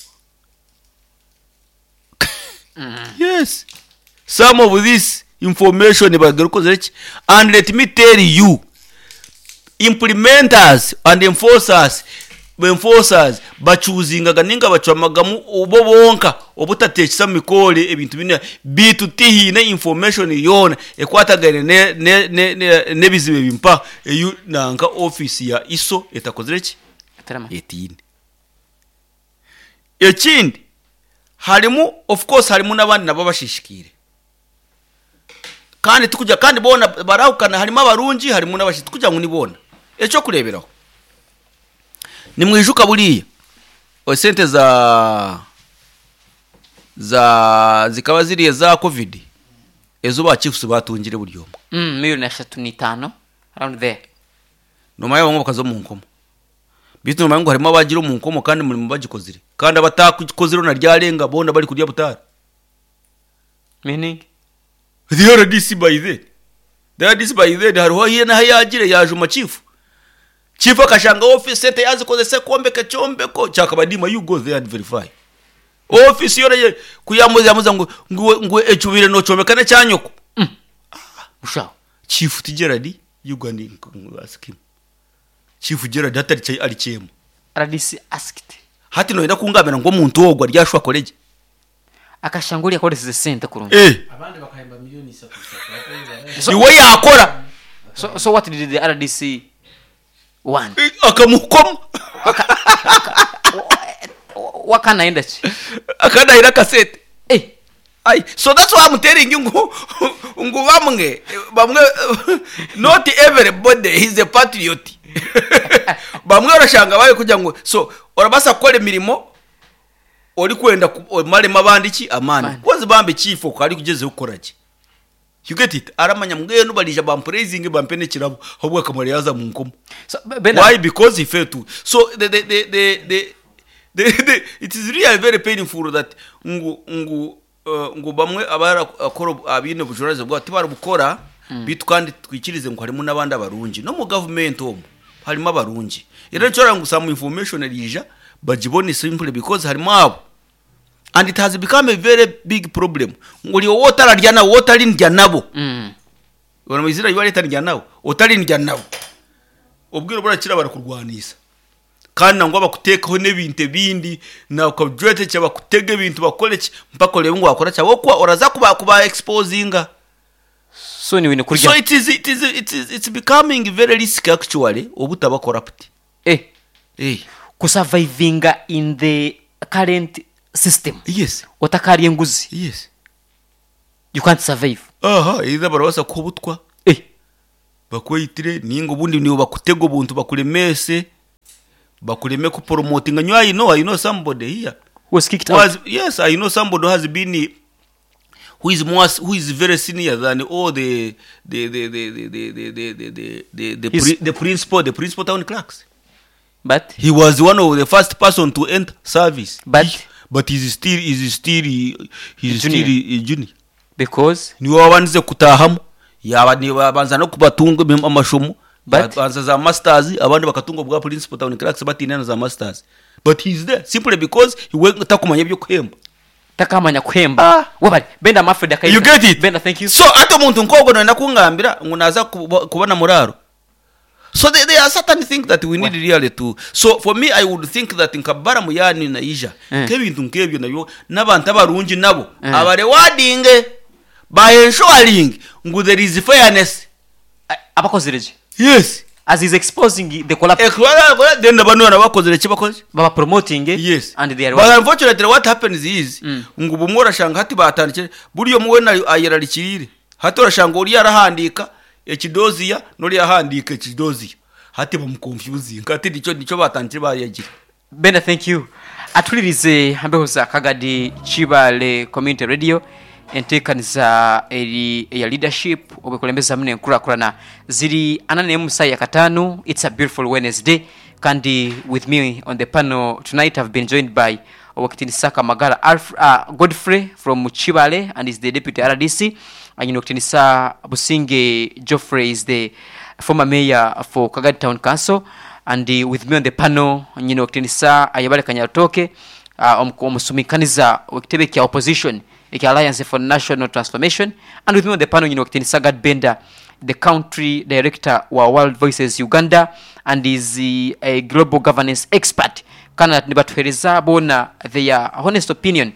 Yes, some of this information bagarukoze ki. And let me tell you, implementers and enforcers enforcers bachuzingaga ninga bacwamagamu obo bonka obutatekesa mikore ebintu bine bitu tihine information yona ekwatagane ne ne ne ne- nebizibu bimpa eyu nanka office ya I S O etakozere ki. Tarama. Etine ekindi harimu, of course, harimu n'abandi nabo bashishikire kandi tukujya kandi bona barahukana, harimo abarungi harimo n'abashi tukugira ngo nibona ecyo kureberaho ni mwijuka buriya sente za za zikaba ziriya za COVID ezo ba chiefs batungire buri omwe. Mm, miliyoni eshatu n'itaano around there. Nyuma y'abo bakaza mu nkomo bitu nyuma ngo harimo abagira mu nkomo kandi umurimo bagikozire kandi abatakozire na ryarenga bona bari kurya butara. Meaning? The R D C by then, the R D C by then hariho hiye naho yagire yajuma chief chief akashanga office sente yazikoze se kombeka cyombeko cyakabadima. You go there and verify office yore kuyamuza yamuza ngo ngo ngo ecubire no comeka ne cyanyoko. Ushaho. Chief Gerard, you go and ask him. Chief Gerard hatari cyo ari cyemo. R D C asked. Hati noyenda kungabira ngo omuntu ogwo aryashwa koleje. Akashanguli akoreseze sente kurungi. Eh. Abandi bakahemba miliyoni isatu isatu. So- Iwe yakora. So, so what did the R D C want? Eh, akamukoma. Wakanaenda ki? Akanahira kasete. Eh. Ai, so that's why I'm telling you ngo ngo bamwe bamwe, not everybody is a patriot. Bamwe barashanga baye kugira ngo so orabasa gukora emirimo ori kwenda ku- omaremo abandi ki amani. Amani. Kozi bambe chief ko ari kugeze gukora ki. You get it? Aramanya mbwenu barija bampraising bampe n'ekirabo ahubwo akamara yaza mu nkomo. So, Bernard, Why? Because he failed to. So the the the the, the, the, the it is really very painful that ngu ngu uh, ngu bamwe abarakora abine bujuraze bwa tibarabukora bitu kandi twikirize ngo harimo n'abandi abarungi no mu government omo harimo abarungi. Rero nshobora ngo some information rija bagibone simply because harimo abo, and it has become a very big problem ngo uri wowe utararya nabo, wowe utarindya nabo. Mm. Baramizira yuba leta ndya nabo utarindya nabo ubwira burakira barakurwanisa kandi nangwa bakutekaho n'ebintu ebindi nakajwete kya bakutega ebintu bakore ki mpaka orebe ngu wakora kya wokuba oraza kuba kuba exposinga. So ni wine So kurya. it is, it is, it is, it's becoming very risky actually obutaba corrupt. Eh. Eh. Kusurvivinga in the current system. Yes. Otakarya enguzi. Yes. You can't survive. Aha, either barabasa kuhubutwa. Eh. Bakweyitire ninga obundi nibo bakutega obuntu bakulemese bakuleme kupromotinga. Nyo, I know, I know somebody here Was kicked who out. has, yes, I know somebody who has been, who is more, who is very senior than all the the the the the the the the the the, the, the, He's- pri, the principal the principal town clerks. But He was one of the first person to enter service. But- He- but he's still he's still he's Junior. still a junior. Because Niwe wabanze kutahamu, yaba nibabanza no kubatunga ibim- amashomo. But- banza za masters, abandi bakatunga bwa principal town clerks batina na za masters, but he's there simply because he went takumanya byo kuhemba. Takamanya kuhemba. Ah. Wabali Benda Mafred akaita. You get it? Benda, thank you. So ate omuntu nk'ogwo noyenda kungambira ngu naza kuba- kubona muraro. So there, there are certain things that we need really to, so for me I would think that nkabara muyani naija Mm. nk'ebintu nk'ebyo nabyo n'abantu abarungi nabo Mm. abarewardinge by ensuring ngu there is fairness. Abakozereje. Yes. As he's exposing the collapse. Ekora then bano nabakozere kibakoze. Baba promoting, eh, Yes. and they are But unfortunately what happens is Mm. ngu bumwe orashanga hati batandikire buri omwe wena ayerarikirire, hati orashanga ori arahandika ekidoziya n'ori yahandika ekidoziya, hati bamuconfusinga, hati nikyo nikyo batandikire bayagira. Benda, thank you. Atulirize hambeho za Kagadi Chibale Community Radio, enteekaniza eri eya leadership obwekulembeza hamwe n'enkurakurana ziri anana emu ya katano. It's a beautiful Wednesday, kandi with me on the panel tonight I've been joined by Owekitinisaka Magara Alf, uh, Godfrey from Chibale and is the deputy R D C, and Okitinisa Businge Geoffrey is the former mayor for Kagadi Town Council, and uh, with me on the panel nyina Okitinisa Ayabale Kanyatoke, uh, omusumikaniza wekitebe kya opposition ekya Alliance for National Transformation, and with me on the panel nyina Okitinisa Gad Benda, the country director wa World Voices Uganda and is uh, a global governance expert, kana nibatuhereza bona their honest opinion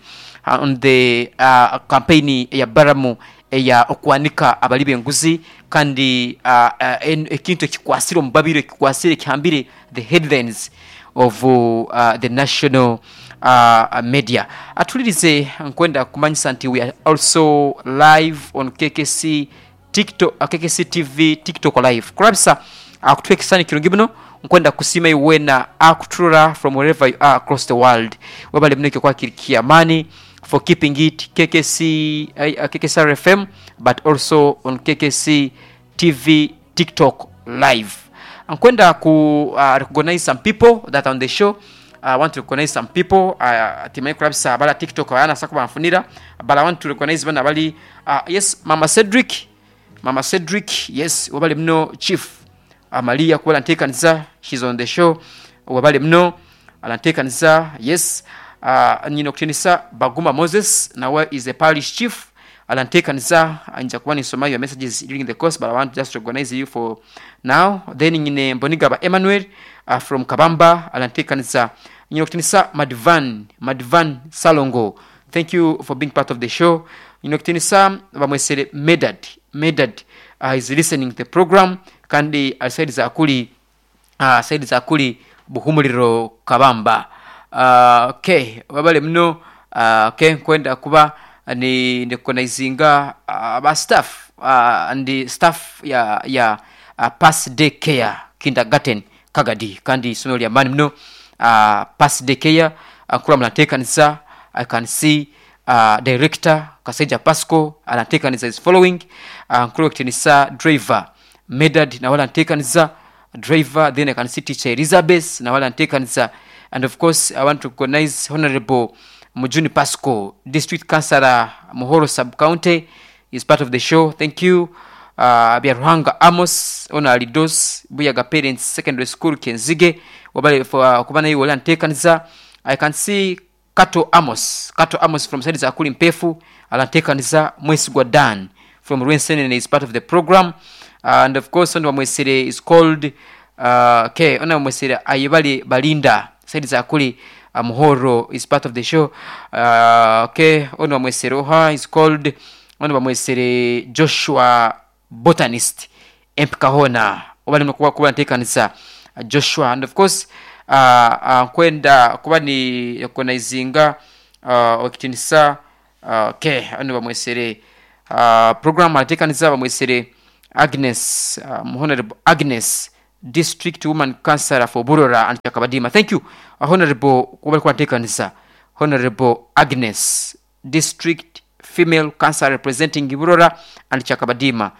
uh, on the uh, campaign ya Baramu eya okwanika abali b'enguzi, kandi uh, uh, en- ekintu ekikwasire omubabiro, ekikwasire ekihambire the headlines of uh, the national uh, media. Atulirize, nkwenda kumanyisa nti we are also live on K K C TikTok, uh, K K C T V TikTok live kurabisa akutwekesani kirungi muno. Nkwenda kusima iwena akuturora from wherever you are across the world. Webale muno kwakirikia amani for keeping it K K C, uh, K K C F M, but also on K K C T V TikTok live. Nkwenda ku uh, recognize some people that are on the show. I want to recognize some people uh, timanyi kurabisa abala TikTok bayana sako banfunira, but I want to recognize bana bali, uh, yes, Mama Cedric, Mama Cedric, yes, wabale muno. Chief Amalia kuba alanteekaniza, she's on the show, wabale muno alanteekaniza. Yes, uh, nyina okutinisa Baguma Moses nawe is a parish chief alanteekaniza. Nja kuba nisoma your messages during the course, but I want just to recognize you for now. Then nyine Mbonigaba Emmanuel uh, from Kabamba alanteekaniza. Nyina okutinisa Madvan, Madvan Salongo, thank you for being part of the show. Nyina okutinisa bamwesere Medad, Medad uh, is listening to the program, kandi asaidiza akuli uh, side za kuli Buhumuliro Kabamba. uh, okay wabale muno. uh, okay nkwenda kuba ni recognizinga uh, ba staff uh, and staff ya ya uh, Pass Day Care Kindergarten Kagadi, kandi isomero lya mani muno, uh, Pass Day Care uh, kula munateekaniza. I can see uh, director Kasaija Pasco anateekaniza, is following. uh, nkulu okutinisa driver Medad nawe alanteekaniza, driver. Then I can see teacher Elizabeth nawe alanteekaniza, and of course I want to recognize Honorable Mujuni Pasco, district councillor, Muhoro Sub County, is part of the show, thank you. uh, Byaruhanga Amos ona Alidos Buyaga Parents Secondary School Kenzige, wabale for uh, kuba naye wali anteekaniza. I can see Kato Amos, Kato Amos from side za kuli Mpefu alanteekaniza. Mwesigwa Dan from Rwensenene is part of the program, and of course ono Bamwesere is called, uh, okay, ono Bamwesere Ayebale Balinda side za kuli uh, Muhoro is part of the show. uh, okay ono Bamwesere oha is called Ono bamwesere Joshua Botanist empika hoona oba nimwe kuba kuba nteekanisa Joshua. And of course uh, uh, nkwenda kuba ni recognizinga uh, okitinisa uh, okay, ono bamwesere uh, program ateekanisa bamwesere Agnes, um, Honorable Agnes, District Woman Councillor for Burora and Chakabadima. Thank you, uh, Honorable kuba kuba nteekanisa Honorable Agnes, District Female Councillor representing Burora and Chakabadima.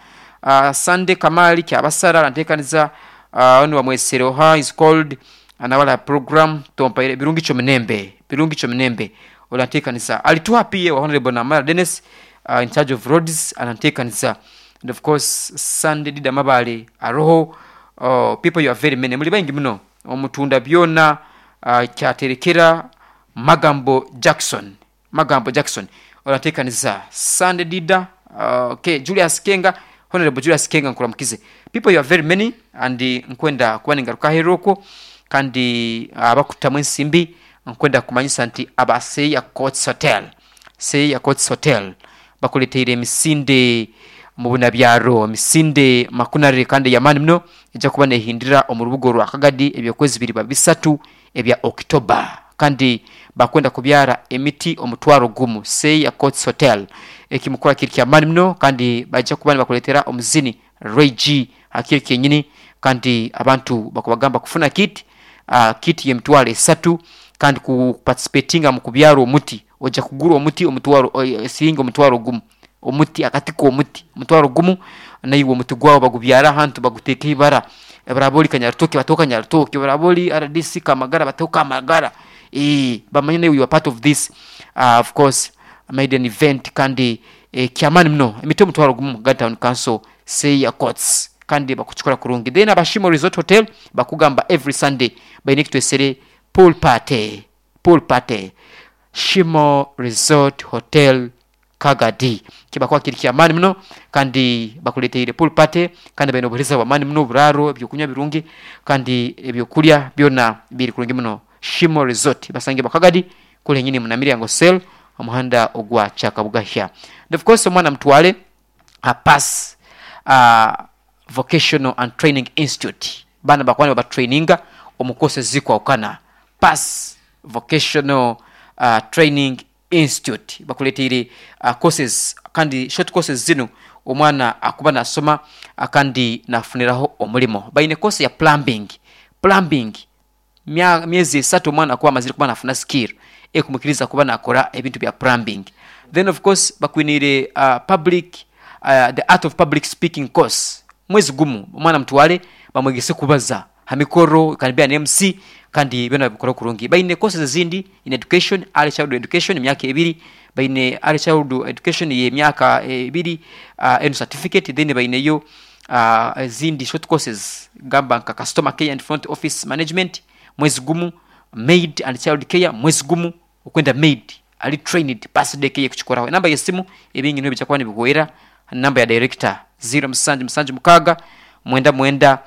Uh, Sunday Kamali Kyabasara anteekaniza uh, ono bamwesere oha is called anawala program tompaire birungi chomunembe birungi chomunembe olanteekaniza alituha pia wa Honorable Namara Dennis, uh, in charge of roads ananteekaniza. And of course Sunday Dida Mabale aroho, uh, people you are very many muli baingi muno omutunda byona uh, kyaterekera Magambo Jackson Magambo Jackson olanteekaniza Sunday Dida, uh, okay, Julius Kenga, Honorable Julius Kenga nkuramukize. People you are very many and nkwenda kuba ningaruka heroko kandi abakutamu ensimbi nkwenda kumanyisa nti aba Seya Courts Hotel Seya Courts Hotel bakuleteire emisinde mu bunabyaro misinde makunare kandi yamani muno ejja kuba nehindira omu rubuga rwa Kagadi ebyokwezi biri ba bisatu ebya October kandi bakwenda kubyara emiti omutwaro gumu. Seya Courts Hotel ekimukora kiri kyamani muno kandi bajja kuba nibakuleetera omuzini Ray G akiri kenyini kandi abantu bakubagamba kufuna kit uh, kit y'emitwaro esatu kandi kuparticipatinga mu kubyara omuti ojja kugura omuti omutwaro eh, siringi omutwaro gumu omuti akati k'omuti omutwaro gumu naiwe omuti gwawe bagubyara ahantu baguteeka ibara baraba ori Kanyarutoke bateho Kanyarutoke, baraba ori R D C Kamagara bateho Kamagara, eh bamanye naiwe you are part of this uh, of course made an event kandi eh, kyamani muno emiti omutwaro gumu Kagadi Town Council Seya Courts kandi bakukikora kurungi. Then Abashimo Resort Hotel bakugamba every Sunday baine ekitwesere pool party pool party Shimo Resort Hotel Kagadi kibakuba kiri kyamani muno kandi bakuleteire pool party kandi baine obuhereza bwamani muno oburaro ebyokunywa birungi kandi ebyokurya byona biri kurungi muno. Shimo Resort basange bakagadi kule nyini munamiryango sel omuhanda ogwa Kyakabugahya. And of course omwana mutwale a pass uh, Vocational and Training Institute bana bakwani babatraininga omu courses zikwawukana. Pass Vocational uh, Training Institute bakuleteire uh, courses kandi short courses zino omwana akuba nasoma uh, kandi nafuniraho omulimo. Baine course ya plumbing plumbing mya, myezi esatu omwana akuba amazire kuba nafuna skill ekumukiriza kuba nakora ebintu bya plumbing. Then of course bakwinire uh, public uh, the art of public speaking course mwezi gumu omwana mutwale bamwegese kubaza hamikoro can be an M C kandi byona babikora kurungi. Baine courses ezindi in education early childhood education emyaka ebiri, baine early childhood education y'emyaka ebiri uh, and certificate. Then baineyo uh, ezindi short courses gamba nka customer care and front office management mwezi gumu, maid and child care mwezi gumu okwenda maid ali trained pass day care kuchikoraho. Namba y'esimu ebingi niyo bijakuba nibihwera namba ya director zero musanju musanju mukaga mwenda mwenda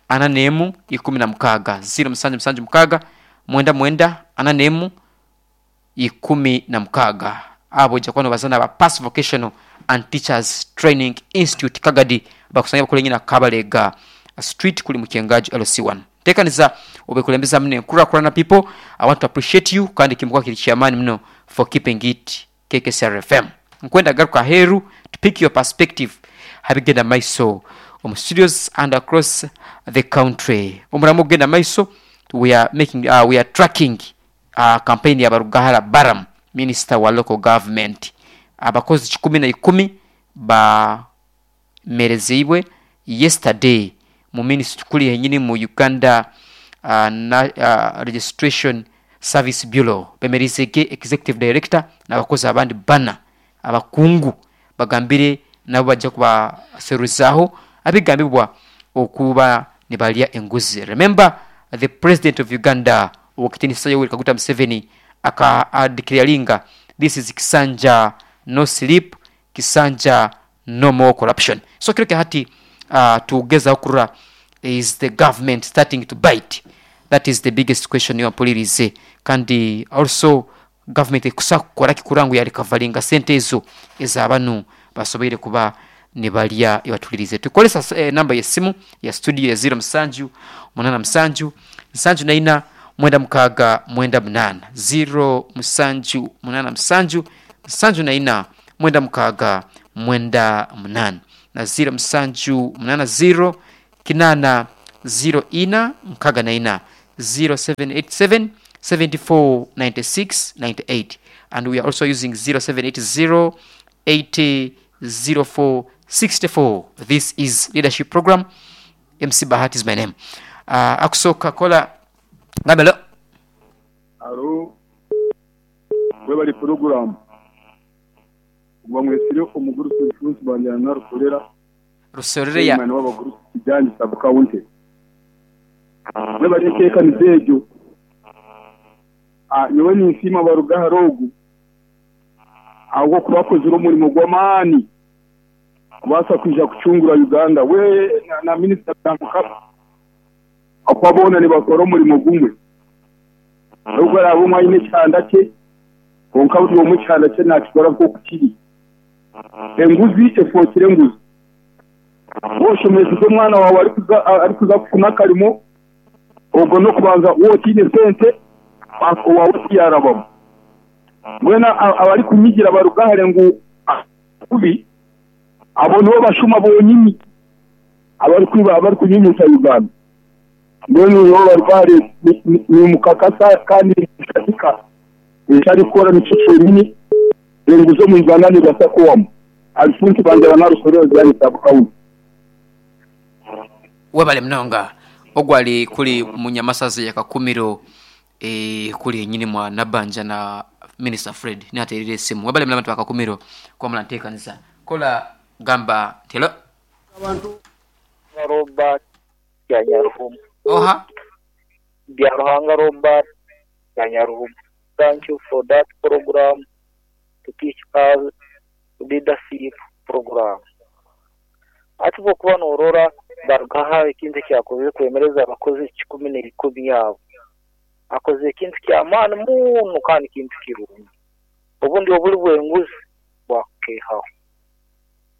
ana nemu ikumi na mukaga zero musanju musanju mukaga mwenda mwenda ana nemu ikumi na mukaga. Abo jakuwa nibazana ba Pass Vocational and Teachers Training Institute Kagadi bakusanya bakole nyina Kabalega Street kuli Mukyengaji L C one. Tekaniza obekulembeza mne nkurakurana people, I want to appreciate you kandi kimukwa kiri kyamani mno for keeping it K K C R F M. Nkwenda garuka heru to pick your perspective habigenda maiso omu studios and across the country. Omuramu ogenda maiso we are making uh, we are tracking uh, campaign ya Barugahara Baram minister wa local government abakozi kikumi na ikumi ba merezibwe yesterday mu ministry kuli yenyini mu Uganda uh, na, uh, Registration Service Bureau bemerizege executive director n'abakozi abandi bana abakungu bagambire nabo bajja kubaseruzaho abigambibwa okuba nibalya enguzi. Remember the president of Uganda Owekitinisa Yoweri Kaguta Museveni aka declaringa this is Kisanja no sleep, Kisanja no more corruption. So kiro hati uh, tugeza okurora is the government starting to bite? That is the biggest question yo ampulirize. Kandi also government ekusa kukora kikurangu yali kavalinga sente ezo ez'abanu Basoboire kuba nibalya ibatulirize. Tukolesa eh, namba y'essimu ya studio ya zero musanju munana musanju nsanju naina mwenda mukaaga mwenda munana, zero musanju munana musanju nsanju naina mwenda mukaaga mwenda munana, na zero musanju munana zero kinana zero ina mukaaga naina, zero seven eight seven seventy four ninety six ninety eight, and we are also using zero seven eight zero eighty zero four sixty four. This is leadership program. M C Bahati is my name. uh, akusoka kola ngambelo. Alo, webali program. Bamwesire omugurusi Alphonse Banjana Rukorera. Rusorere ya Chairman w'abagurusi Kijani sub county. Webali enteekaniza egyo. Ah, nyowe ninsiima barugaha rogu. Ahabw'okuba bakozire omurimo gw'amaani kubaasa kwija kucungura Uganda we na, na minisita Mukama, akuba boona nibakora omurimo gumwe. Nubwo araba omwe aine ekihanda kye, konka buri omwe ekihanda kye nakikora nk'oku kiri. Enguzi efookire enguzi. Woshomesize omwana waawe arikuza arikuza kufuna akarimo, ogwo n'okubanza wotiine sente owaawe tiyarabamu. Mbwenu abarikunyigira barugahare ngu kubi, abo nibo bashuma bonyini abarikwiba, abarikunyunyusa Uganda. Mbwenu nibo barugahare ni mukakasa kandi katika ekyarikukora nikyo kyonyini. Enguzi omu Uganda nibasa kuwamu. Alphonse Banjara Narusorera, Kijani sub county. Webale munonga. Ogwali kuli munyamasazi ya Kakumiro, e, kuli enyini mwa Nabanja na Minister Fred naterire esimu. Webale muna abantu bakakumiro kwamula nteekaniza kola gamba telo. Robert Byanyaruhuma. Oha. Byaruhanga Robert Byanyaruhuma. Thank you for that program to teach us leadership program. Ati bwokuba norora barugaha ekintu ekyakozire kwemereza abakozi kikumi n'ebikumi abo. Akoze ekintu ky'amaani muno kandi kintu kirungi. Obundi obuli bw'enguzi bwakukehaho.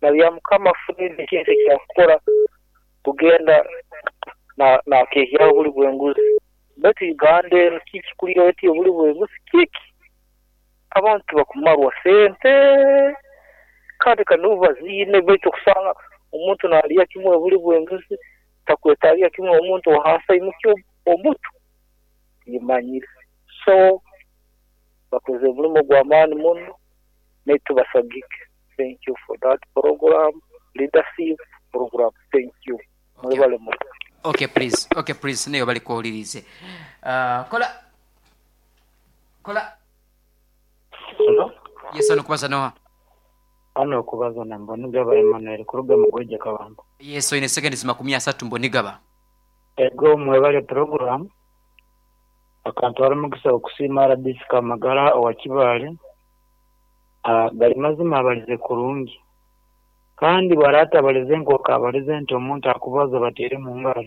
Na bya Mukama Fred ekintu ekyakukora kugenda nakehyaho obuli bw'enguzi. Baitu Uganda eno kiki kuriyo eti obuli bw'enguzi kiki? Abantu bakumarwa sente kandi kanubu baziine, baitu okusanga omuntu nalya kimwe obuli bw'enguzi takwetaalya kimwe omuntu ohansi aimukye omutu yimanyire. So bakoze omurimo gw'amaani muno naitu basagike. Thank you for that program, leadership program. Thank you. Mwebale muno. Okay please, okay please, nayo bali kuwulirize. Uh, kola kola. Hello? Yes, ano kubaza noha. Hano okubaza na Mbonigaba Emmanuel kuruga mu Gweje Kabamba. Yes, oine seconds makumi asatu Mbonigaba. Ego mwebale program. Akantu ari mugisa okusiima R D C Kamagara owa Kibaale. Ah, gali mazima abalize kurungi. Kandi bwarata abalize nkoka abalize nti omuntu akubaza batere mu ngaro.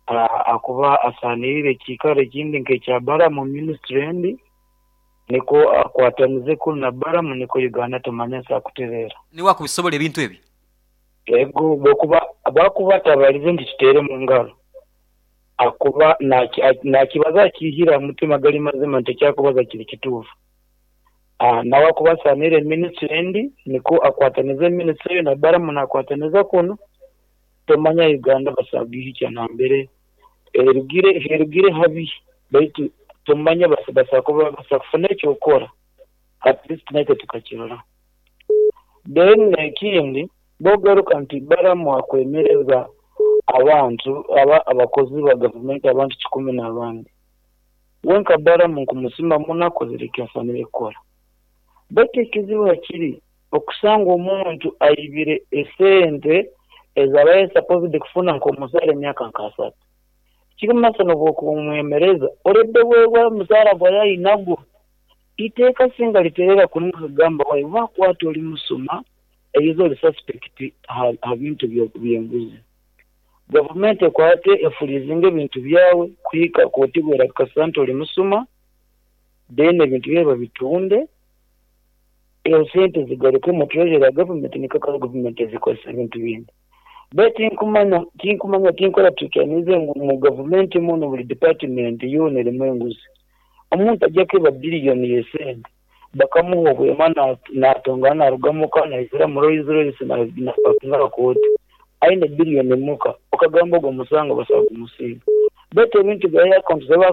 Ah, akuba asanirire ekikaro ekindi nk'ekya Baramu ministry endi niko akwatanize kunu na Baramu niko Uganda tumanya sakutereera. Niwe akubisobola ebintu ebi. Ego bwokuba bakuba tabalize nti tutere mu ngaro, akuba nakibaza akihira mutima gali mazima nti ekyakubaza kiri kituufu. Ah, nawe akuba asanire ministry endi niko akwatanize ministry eyo na Baramu nakwataniza kuno tomanya Uganda basagihikya nambere erugire erugire habi, baitu tomanya basakuba basakufuna ekyokora at least naitwe tukakirora. Then ekindi bogaruka nti Baramu akwemereza abantu aba abakozi ba gavumenti abantu kikumi n'abandi. Wenka Baramu nkumusima muno akozire ekyasanire kukora, baitu ekizibu hakiri okusanga omuntu aibire esente ezabaye supposed kufuna nk'omuzaara emyaka nk'asatu kirimasa nobwokumwemereza oredde bwebwa omuzaara gwaye ayinagwo. Iteeka singa literera kunuka kugamba wayi wakwata oli musuma eyizo oli suspect ha, ha bintu byenguzi, gavumenti ekwate efulizinga ebintu byawe kuhika kotigwera kasanta oli musuma, then ebintu byawe babitunde. Ezo sente zigaruke mu treasury ya gavumenti, nikwo gavumenti ezikozesa ebintu bindi. Be tinkumanya tinkumanya tinkora tukanize ngu mu gavumenti muno buli department yoona erimu enguzi. Omuntu ajja kwiba biliyoni y'esente, bakamuha obwema, natongana, narugamuka naizira mu Rolls Royce, napakinga kooti aine biliyoni muka, okagamba ogwo musango basobola kumusinga. Betu ebintu bya account zaba